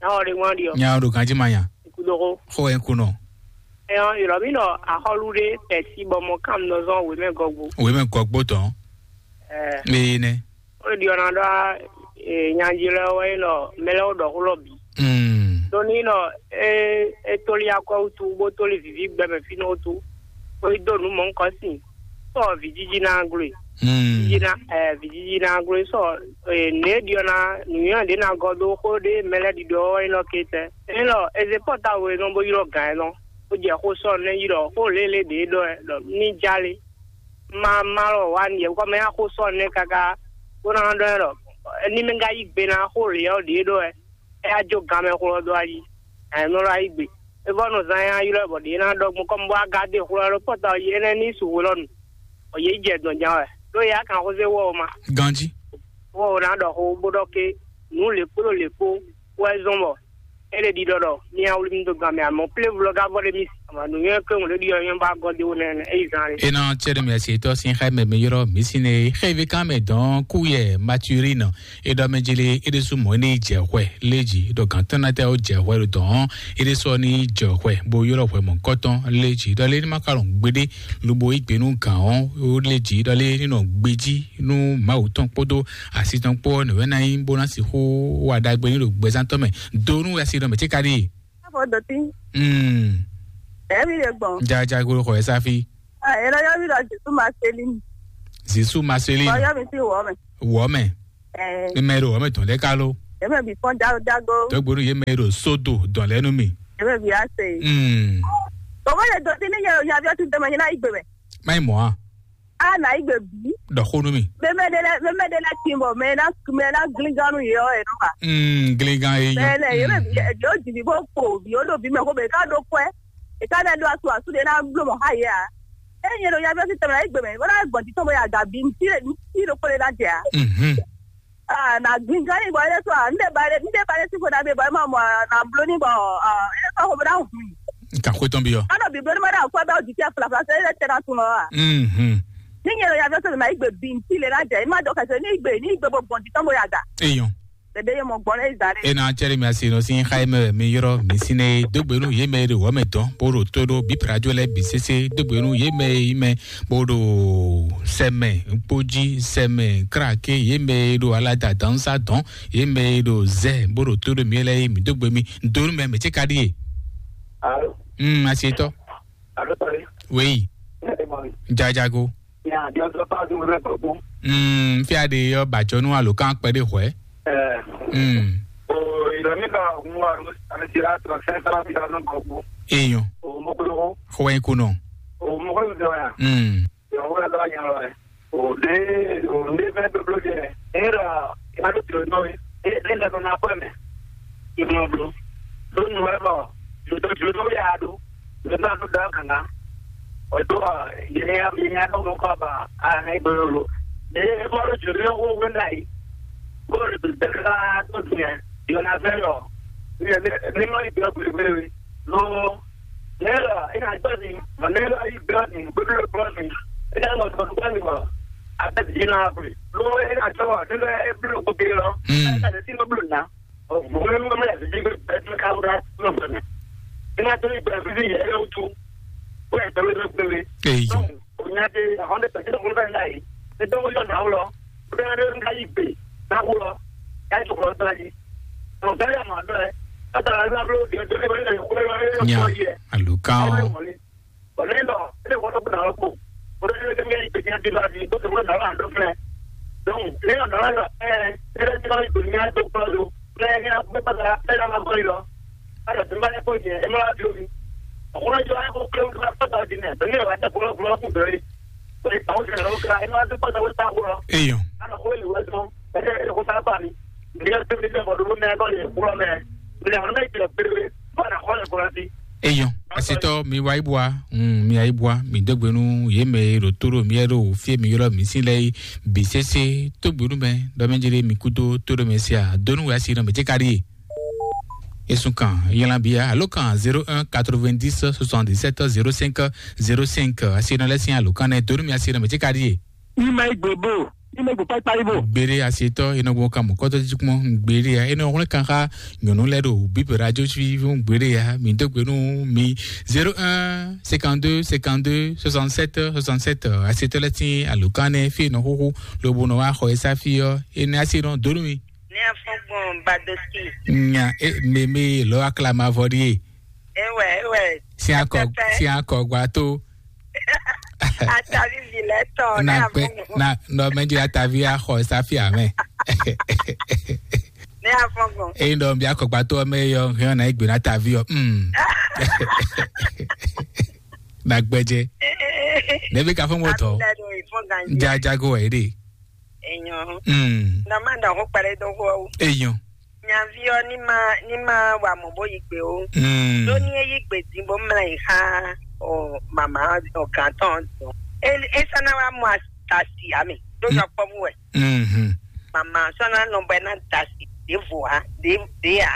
Nya wɔ ɖe ŋwan ɖi ɔ. Nya ɖo ganji ma nya. Kudogo. Xɔ ɛ kunɔ. Ɛyɔ yɔrɔ mi nɔ axɔlu ɖe pɛsi bɔ mɔ kam nɔ zɔn wemɛ gɔgbo. Wemɛ gɔgbo tɔn. Ɛɛ. Ee nɛ. O ɖi ɔna ɖɔ ee nyanji lɛ wɛ nɔ mɛlɛ wo ɖɔ xulɔ bi. Mm. Ɖo ni nɔ e e toli akɔ wutu bo toli vivi gbɛmɛ fi nɔ wutu. O yi do nu mɔ nkɔ si. Sɔ vijiji na glo. Mm. Vijiji na eh vijiji na glo sɔ eh ne diɔ na nuyɔ de na gɔ do xo de mɛlɛ di dɔ yin lɔ ke tɛ. Yin lɔ eze pɔta we nɔ bo ylɔ gan yin lɔ. O jɛ xo sɔ ne yi lɔ xo lele de dɔ ɛ lɔ ni jale. Ma ma lɔ wa ni yɛ kɔ mɛ ya xo sɔ ne kaka. Ko na dɔ ɛ lɔ ni mɛ ga yi gbe na xo le ɔ de dɔ ɛ. Ɛ ya jo gan mɛ xo lɔ do ayi. Ɛ nɔ lɔ ayi gbe. E vɔ nɔ zan ya ylɔ bɔ ɖe na dɔ gbɔn kɔmi bɔ aga de xo lɔ pɔta yi ene ni su xo lɔ nu. Ɔ ye jɛ dɔn jan wɛ. Ɖo ya kan xo se wɔ o ma. Ganji. Wɔ o na dɔ xo bo dɔ ke nu le kpo le kpo wɛ zɔn bɔ. E le di dɔ dɔ mi ya wuli mi do gan mɛ amɔ ple vlɔ ga vɔ de mi. Ama nu yɛ ke ŋun le di yɔ yɔ ba gɔ de wo nɛ e yi zan le. E na cɛ de mi asi tɔ sin xɛ mɛ mi yɔrɔ mi si ne xɛ vi kan mɛ dɔn ku yɛ maturine. E ɖɔ mɛ jele e ɖe su mɔ ne jɛ hwɛ leji ɖɔ gantɔn na tɛ o jɛ hwɛ ɖo dɔn e ɖe sɔ ni jɛ hwɛ bo yɔrɔ hwɛ mɔ kɔtɔn leji ɖɔ le ni ma ka lɔn gbede lobo igbe nu gan o leji ɖɔ le ni nɔ gbeji nu mawu tɔn kpodo asi tɔn kpɔ ne wɛ na yi bo na si xo wa dagbe ni ɖo gbɛzan tɔ mɛ do nu asi ɖɔ mɛ ti ka ɖi. Xɔ dɔtí. Mm. Ɛmi ɖe gbɔn. Jaja golo xɔ ɛsa fi. Ɛlɔ yɔ mi ɖɔ Jesu Marceline. Jesu Marceline. Ɔ yɔ mi ti wɔ mɛ. Wɔ mɛ. Ɛɛ. Ni mɛ ɖo wɔ mɛ tɔn lɛ ka lo. Ɛmɛ bi fɔn jago jago. Dɔgbonu ye mɛ ɖo sodo dɔn lɛ nu mi. Ɛmɛ bi ase. Mm. Bɔbɔ yɛ dɔtí ni yɛ yɛ aviɔ ti dɛmɛ yɛ na igbe mɛ. Mayi mɔ a. A na igbe bi. Dɔ xo nu mi. Mɛmɛ de lɛ mɛmɛ de lɛ ti bɔ mɛ na mɛ na glingan nu yɛ ɔ yɛ nɔ ma. Mm, glingan ye yɔ. Mɛ lɛ yɛ mɛ bi yɛ yɔ jibi bɔ kpo bi o do bi mɛ ko bɛ ka do kwɛ. E ka na do asu asu de na blo mɔ ha yɛ a. E yɛ do ya bi ɔsi tɛmɛ na igbe mɛ. Wala gbɔn ti tɔn bɔ ya ga bi nti de nti do kpɔ de na jɛ a. Mhm. Ah, na glingan yi bɔ ele sɔ a. Nde ba ele nde ba ele si ko na bi bɔ e ma mɔ a, na blo ni bɔ a ele sɔ ko bɛ na hu. Ka xwe tɔn bi yɔ. Ano bi blo ni ma da ko bɛ o di ti a fla fla se ele tɛ na tun lɔ a. Mhm. Ni nyɛ lo ya bi ɔsi na igbe bi nti le na jɛ. E ma dɔ kɛse ni igbe ni igbe bo gbɔn ti tɔn bo ya ga. Eyɔn. Bebe ye mɔ gbɔn le zan de. E na cɛri mi asi nɔ si xa mi mi yɔrɔ mi sine dogbenu ye mɛ de wɔ mɛ dɔn boro to do bi prajo lɛ bi sese dogbenu ye mɛ yi mɛ boro sɛmɛ kpoji sɛmɛ krake ye mɛ do alada dansa dɔn ye mɛ do zɛ boro to do mi lɛ yi mi dogbe mi donu mɛ mɛ tse ka di ye. Alo. Mm, asi tɔ. Alo, sorry. Oui. Ne te mɔ mi. Jajago. Ya, jɔ sɔ pa du mɛ kɔkɔ. Mm, fi ade yɔ bajɔnu alo kan kpɛ de hwɛ. Eh. Mm. O, il a mis à moi, à Russie, à Russie, là, cinq cents mille kɔkɔ. Eyan. O, mɔkɔlɔkɔ. Xɔwɛ kunɔ. O, mɔkɔlɔkɔ ya. Mm. Ya, o, ya, ya, ya. O, de, o, de fɛn bɛ blo jɛ. Era, ya do tiro nɔ. E, e, da na ko me. I mɔ blo. Do nu wɛ bɔ. Jodó, jodó ya do. Jodó do da kan. O to, yɛnɛ ya, yɛnɛ ya dɔn nɔ kɔ ba, a na yi bolo lo. E bɔ lo jodó ya wo wɛ na yi. Ko lo de ka to tiɲɛ. Yɔ na fɛ lɔ. Ni ni ni ma yi bɛ bolo bolo. Lo ne la e na jɔ ni, ma ne la yi bɛ ni bolo bolo ni. E na lɔ to bɛ ni ma. A bɛ di na bolo. Lo e na jɔ, ne la e bolo ko ke lɔ. Mm. E na de ti bolo na. Ɔ, mɔgɔ mɛ mɛ yɛ bi bɛ bɛ ka wura nɔ fɛ mɛ. Ina to ni bɛ bi yɛ yɛ wutu. Ko yɛ tɛmɛ bɛ bɛ. Eyi. Donc, o nya de ahɔn de pɛtɛ ko bɛ na yi. Ne dɔn ko yɔ na wulɔ. Ko bɛ ne ka yi gbe na wulɔ. Ya to ko ta yi. Ɔ bɛ ya ma dɔ yɛ. Ka ta la blo de de ko yɛ ko yɛ. Nya. Alukan o. Ɔ ne dɔ e de ko to na ko. Ko de de ke mi pe nya di la di ko to na la do fɛ. Donc, ne ya na la ɛ, e de ko nya to ko do. Nya nya ko pa la e na ma ko lo. Ala tun b'a ko jɛ e ma bi o mi. O kɔrɔ jɔ a ko kile ka pa ta di ne. Donc, ne wa ta ko ko ko do. Ko ta o jɛ lo ka e ma to pa ta ko ta ko. Eyo. Ala ko le wa to. E de ko ta pa ni. Ni ka to ni ko do ne ko le ko me. Ni na me ke pe. Ba na ko le ko ti. Eyɔn, asitɔ mi wa ibua, mm, mi wa ibua, mi dɔgbenu ye mɛ ɖo to ɖo mi yɛ ɖo fie mi yɔrɔ mi si lɛ yi bi sese to gbenu mɛ dɔ mɛ jere mi kudo to ɖo mɛ sia donu wɛ asi nɔ mɛ jɛ kari ye. Esun kan yɛlɛn bi ya alo kan zéro un quatre-vingt-dix soixante-dix-sept zéro cinq zéro cinq asi nɔ lɛ sin alo kan nɛ donu mi asi nɔ mɛ jɛ kari ye. Ima igbe bo, ima igbe kpakpa ibo. Gbére asetɔ enɔgbɔn kan mɔkɔtɔ jikmɔ gbére ya enɔ wlɛ kan xa nyɔnu lɛ ɖo bíbélà jó sí fún gbére ya mi dó gbénu mi zéro un cinquante-deux cinquante-deux soixante-sept soixante-sept asetɔ lɛ tín alukánɛ fi enɔ xóxó lobo nɔ wá xɔ esa fi ɔ ene asenɔ donu mi. Ní afɔgbɔn badosi. Nya e meme lɔ aklamavɔ ɖie. Ewɛ ewɛ. Siakɔ siakɔ gbato. Atavi vi lɛ tɔ ne na kpɛ afɔgbɔn. Na nɔ mɛ jɛ atavi axɔ safia mɛ. Ne afɔgbɔn. Eyi nɔ bi akɔgbato mɛ yɔ hɛn na egbe na atavi ɔ. Mm. Na gbɛjɛ. Ne bi ka fɔ mɔ tɔ. Jajago wɛ de. Enyo. Mm. Na ma da ho kpɛrɛ do ho. Enyo. Nyaví ɔ́ ní má ní má wa mɔ̌ bó yí gbe ó. Mm. Ɖó ní é yí gbe din bó mlá yi xá ɔ mama ɔ gǎn tɔn ɔ́ din ɔ́. É é sɔ́ ná wá mɔ asi ǎ mɛ ɖó yɔkpɔ́vú wɛ. Mhm. Mama ɔ́ sɔ́ ná nɔ bɔ é ná da asi ɖěvo ǎ ɖě ɖě ǎ.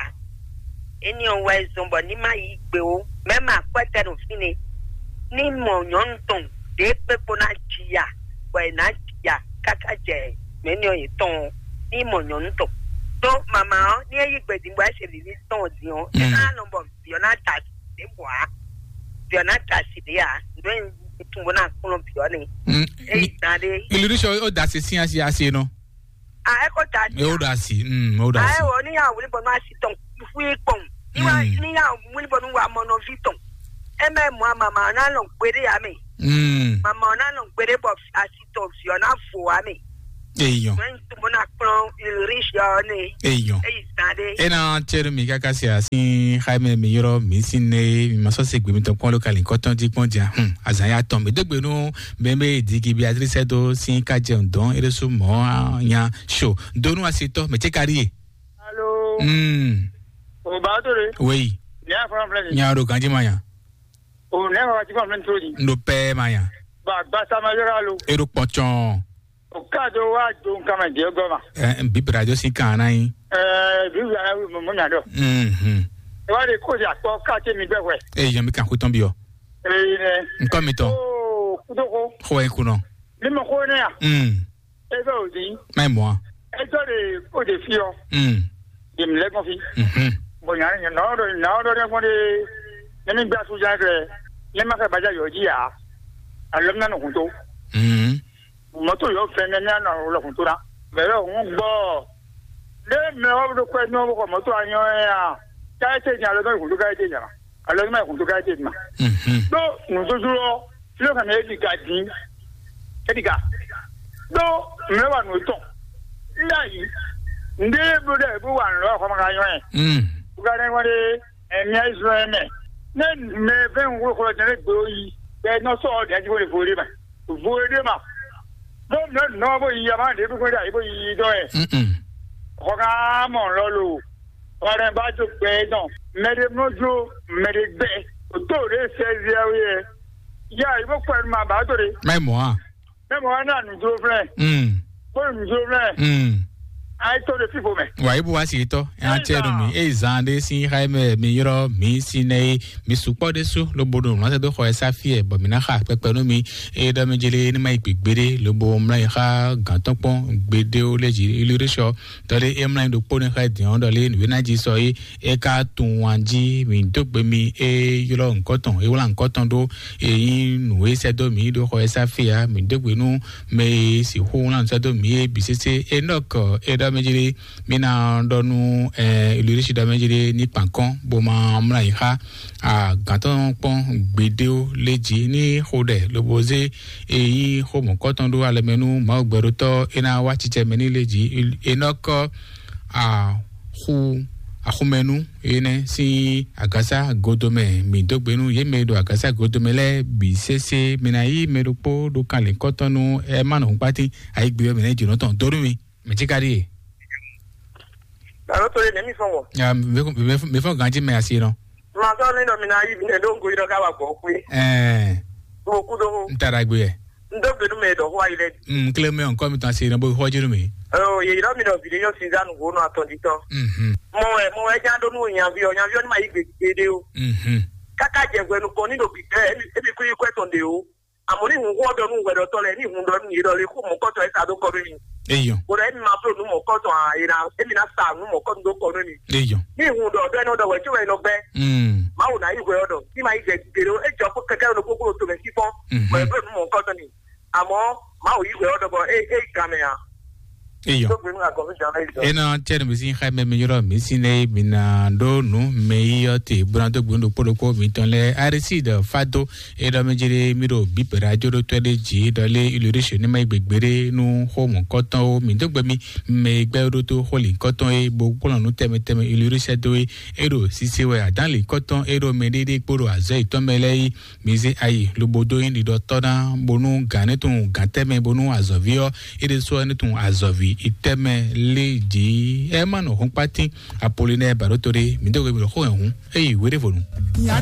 Éní ɔ́ wɛ zɔn bɔ ní má yí gbe ó. Mɛ̌ ma akwɛ́tɛ́ ɖo fínɛ́. Ní mɔ nyɔ̌nu tɔn ɖě kpékpó ná ji ya, bɔ è nǎ ji ya káká jɛ mɛ̌ ní ɔ́ yětɔn ɔ́. Ní mɔ nyɔ̌nu tɔn. Ɖó mama ɔ́, ní é yí gbe din bɔ é se vǐví tɔn ɔ́ din ɔ́, é ná nɔ bɔ vǐ ɔ́ ná da asi ɖěvo ǎ. Vǐ ɔ́ ná da asi ɖě ǎ. Nǔ e un tunwun bó ná kplɔ́n vǐ ɔ́ nɛ́. Mm, É yi mi- gán ɖé. Ilirúṣọ ó da asi sín asi asi nɔ. A é kó da asi. Ó da asi. Mm, ó da asi. A é wò ó ní yà wò ní bɔ ní asi tɔn fún yín kpɔn. Ní wà Mm. ní yà wò ní bɔ Fi tɔn. Eme mɔ mama ɔ́ ná nɔ gbeɖé ya mɛ. Mm. Mama ɔ́ ná nɔ gbeɖé bɔ asi tɔn vi ɔ́ ná vo wa mɛ. Eyɔn. Mɛ to mo ná kplɔn riche ɔ́ nɛ. Eyɔn. Eyi zan ɖe. Ena tseɖu mi kaka si asi xaime mi yɔrɔ mi si ne mi ma sɔ se gbe mi tɔn kpɔn lo kali kɔtɔn di kpɔn dia. Hmm. Azan ya tɔn mi degbe nu bɛnbɛ digi Beatrice do si ka jɛ dɔn eresu mɔ nya so donu asitɔ mɛ tse kari ye. Alo. Hmm. O ba to de. Wei. Nya fɔlɔ filɛ ni. Nya ro ganji ma nya. O ne wa ti fɔlɔ filɛ ni to di. Ndo pɛ ma nya. Ba gbasa ma yɔrɔ alo. E ɖo kpɔtsɔn. O ka do wa do nkan mɛ diɛ gɔ ma. Ɛ bi radio si kan na yi. Ɛ bi wia mo mo nya dɔ. Mhm. E wa de ko ya kpɔ ka te mi gbɛ hwɛ. E yan mi kan ku tɔn bi o. E ne. Nkɔ mi tɔn. O kudo ko. Xo e kunɔ. Mi mɔ ko ne ya. Mm. E bɛ o di. Mɛ mɔ. E jɔ de o de fi ɔ. Mm. Yemlɛ́gbɔn fí. Mhm. Bɔn nya nya nɔ ɖɔ nɔ ɖɔ ɖɛ fɔn ɖe ne mi gba su jan kɛ ne ma kɛ baja yɔ ji ya. Alɔ mi na nɔ hun to. Mhm. Mɔto yɔ fɛn ne mi na nɔ lɔ hun to na. Mɛ yɔ hun gbɔ. Ne mɛ wa ɖo kɔ nɔ bɔ mɔto anyɔ ya. Ka ete nya lɔ nɔ hun to ka ete nya. Alɔ mi na hun to ka ete ma. Mhm. Do nuzuzulɔ filo kan e di ka di. E di ka. Do mɛ wa nɔ tɔn. Nda yi. Nde blo dɛ bo wa nɔ xɔ ma ka nyɔ. Mm. Bukanɛ ŋɔ ɖe, ɛmia Israɛl mɛ. Ne mɛ fɛn ŋu xɔ jɛnɛ gbe yi, bɛ nɔ sɔ ɔ dɛji wele vo ɖe ma. Vo ɖe ma. Ɖo mɛ nɔ bo yi ama ɖe bi ko ɖe ayi bo yi dɔ yɛ. Mm-mm. Xɔ ka mɔ lɔ lo. Ɔrɛ ba jo gbɛ dɔn. Mɛ ɖe mlɔ jo, mɛ ɖe gbɛ. O to ɖe sɛ zia wi yɛ. Ya yi bo kpɛ ma ba to ɖe. Mɛ mɔ a? Mɛ mɔ wa na nu dro flɛ. Mm. Bó nu dro flɛ. Mm. Ayi to ɖe fifo mɛ. Wa ibu wa si tɔ. An tse nu mi. E zan de si ha mɛ mi yɔrɔ mi si ne ye mi sukpɔ de su lo bo do mlɔ do xɔ esa fi ɛ bɔ mi na xa pɛpɛ nu mi. E dɔ mi jele ni ma yi gbegbe de lo bo mlɔ yi xa gantɔ kpɔn gbede o le ji ilu de sɔ. Tɔ de e mlɔ yi do kpo ne xa diɔn dɔ le nu na ji sɔ ye. E ka tunwun wan jí mǐ dó gbe mi, e ylɔ́ ŋkɔ́ tɔn, e wlá ŋkɔ́ tɔn ɖó, e nyí nǔ e sɛ́ dó mǐ ɖó xɔ e sá fí ǎ. Mǐ dó gbe nú mɛ e sixú wlá nǔ sɛ́ dó mǐ é bǐ sésé. Enɔ́k e ɖɔ mɛ jí ɖé, mí ná ɖɔ nú Ulrich ɖɔ mɛ jí ɖé ní kpan kɔ́n, bó ma mlá yi xá agǎn tɔn kpɔ́n gbeɖé ó lé jí ní xo ɖɛ, lobo zé e nyí xó mɔ̌kɔ́ tɔn ɖó alɛ mɛ nú Mawu gbɛɖótɔ́ é ná wá cicɛ mɛ ní lé jí. Enɔ́k axu axumɛnu énɛ́ sín agǎsá godomɛ. Mǐ dó gbe nú yě mɛ e ɖo agǎsá godomɛ lɛ́ɛ bǐ sésé. Mi ná yí mɛ ɖokpó ɖó kanlin kɔ́tɔn nú ɛ má nɔ húnkpátín ayígbe ɔ́ mɛ nɛ́ jǒnɔ tɔn dó nú mi. Mɛ cí ka ɖíe? Alo to ɖe nɛ̌ mi fɔ́n wɔ? Ya, mi fɔ́n ganjí mɛ asi nɔ. Ma sɔ ní ɖɔ mi ná yí mi nɛ ɖó ŋgo yi ɖɔ ká wà gbɔn xwé. Ɛɛ. Mo kú ɖó. N ta ɖagbe yɛ. N dó gbe nú mɛ ɖɔ xó ayi lɛ. N kle mɛ nkɔ mi tɔn asi nɔ bó xɔ jínú mi. Ɔ yèyí ɖɔ mi ɖɔ bìɖé yɔ Suzanne wo nɔ atɔn jí tɔn. Mhm. Mɔ wɛ mɔ wɛ já ɖó nú nyaví ɔ nyaví ɔ ní ma yí gbe gbeɖé o. Mhm. Káká jɛ hwɛ nukɔn ní ɖo bìtɛ émi kú yí kwɛ tɔn ɖe o. Àmọ́ ní hun xó ɔ́ ɖɔ nú hwɛɖɔtɔ́ lɛ́ɛ ní hun ɖɔ nú yě ɖɔ lé xó mɔ̌kɔtɔn e sa dó kɔ nú mi. Eyɔn. Bó ɖɔ émi ma bló nǔ mɔ̌kɔtɔn ǎ, è nǎ émi ná sa nǔ mɔ̌kɔtɔn dó kɔ nú mi. Eyɔn. Ní hun ɖɔ ɖɔ énɛ́ ɖɔ wɛ có wɛ è nɔ gbɛ́. Mm. Mawu ná yí hwɛ ɔ́ ɖɔ ní ma yí jɛ gbeɖé ó, é jɔ kó kɛkɛ ɖo kókó ɖo tomɛ fífɔ́n. Mhm. Bɔ è bló nǔ mɔ̌kɔtɔn n'i. Àmọ́ Mawu yí hwɛ ɔ́ ɖɔ bɔ é é yi gan mɛ ǎ. Eyɔn. Tó gbé nú agɔ̌ fí jǎn lɛ́ yi dɔn. Ena tse nu mi sin xa mɛ mi yɔrɔ mi sin ne mi na ɖo nu mɛ yi yɔ te buna do gbun ɖokpo ɖokpo mi tɔn lɛ arisi ɖe fa do. E ɖɔ mi jere mi ɖo bibera jo ɖo tɔɛ ɖe dzi ɖɔ lé ilori se ne ma yi gbegbe ɖe nu xo mɔ kɔtɔn wo mi do gbe mi mɛ yi gbɛ ɖo to xo li kɔtɔn ye bo kplɔn nu tɛmɛ tɛmɛ ilori sɛ do ye. E ɖo sise wɛ adan li kɔtɔn e ɖo mɛ ɖe ɖe kpo ɖo azɔ yi tɔn mɛ lɛ yi. Mi zé ayi lobo dó nyí ɖiɖɔtɔ́ ná bónú gǎn ní tunwun gǎn tɛ́mɛ bónú azɔ̌ví ɔ́ é ɖésú ɔ́ ní tunwun azɔ̌ví itɛ́mɛ lé jǐ. Ɛ má nɔ hɔnkpátín Apolinɛ́ɛ bǎɖótó ɖé, mǐ dó gbe mǐ ɖo xó hɛn hǔn é yi wéɖévonu.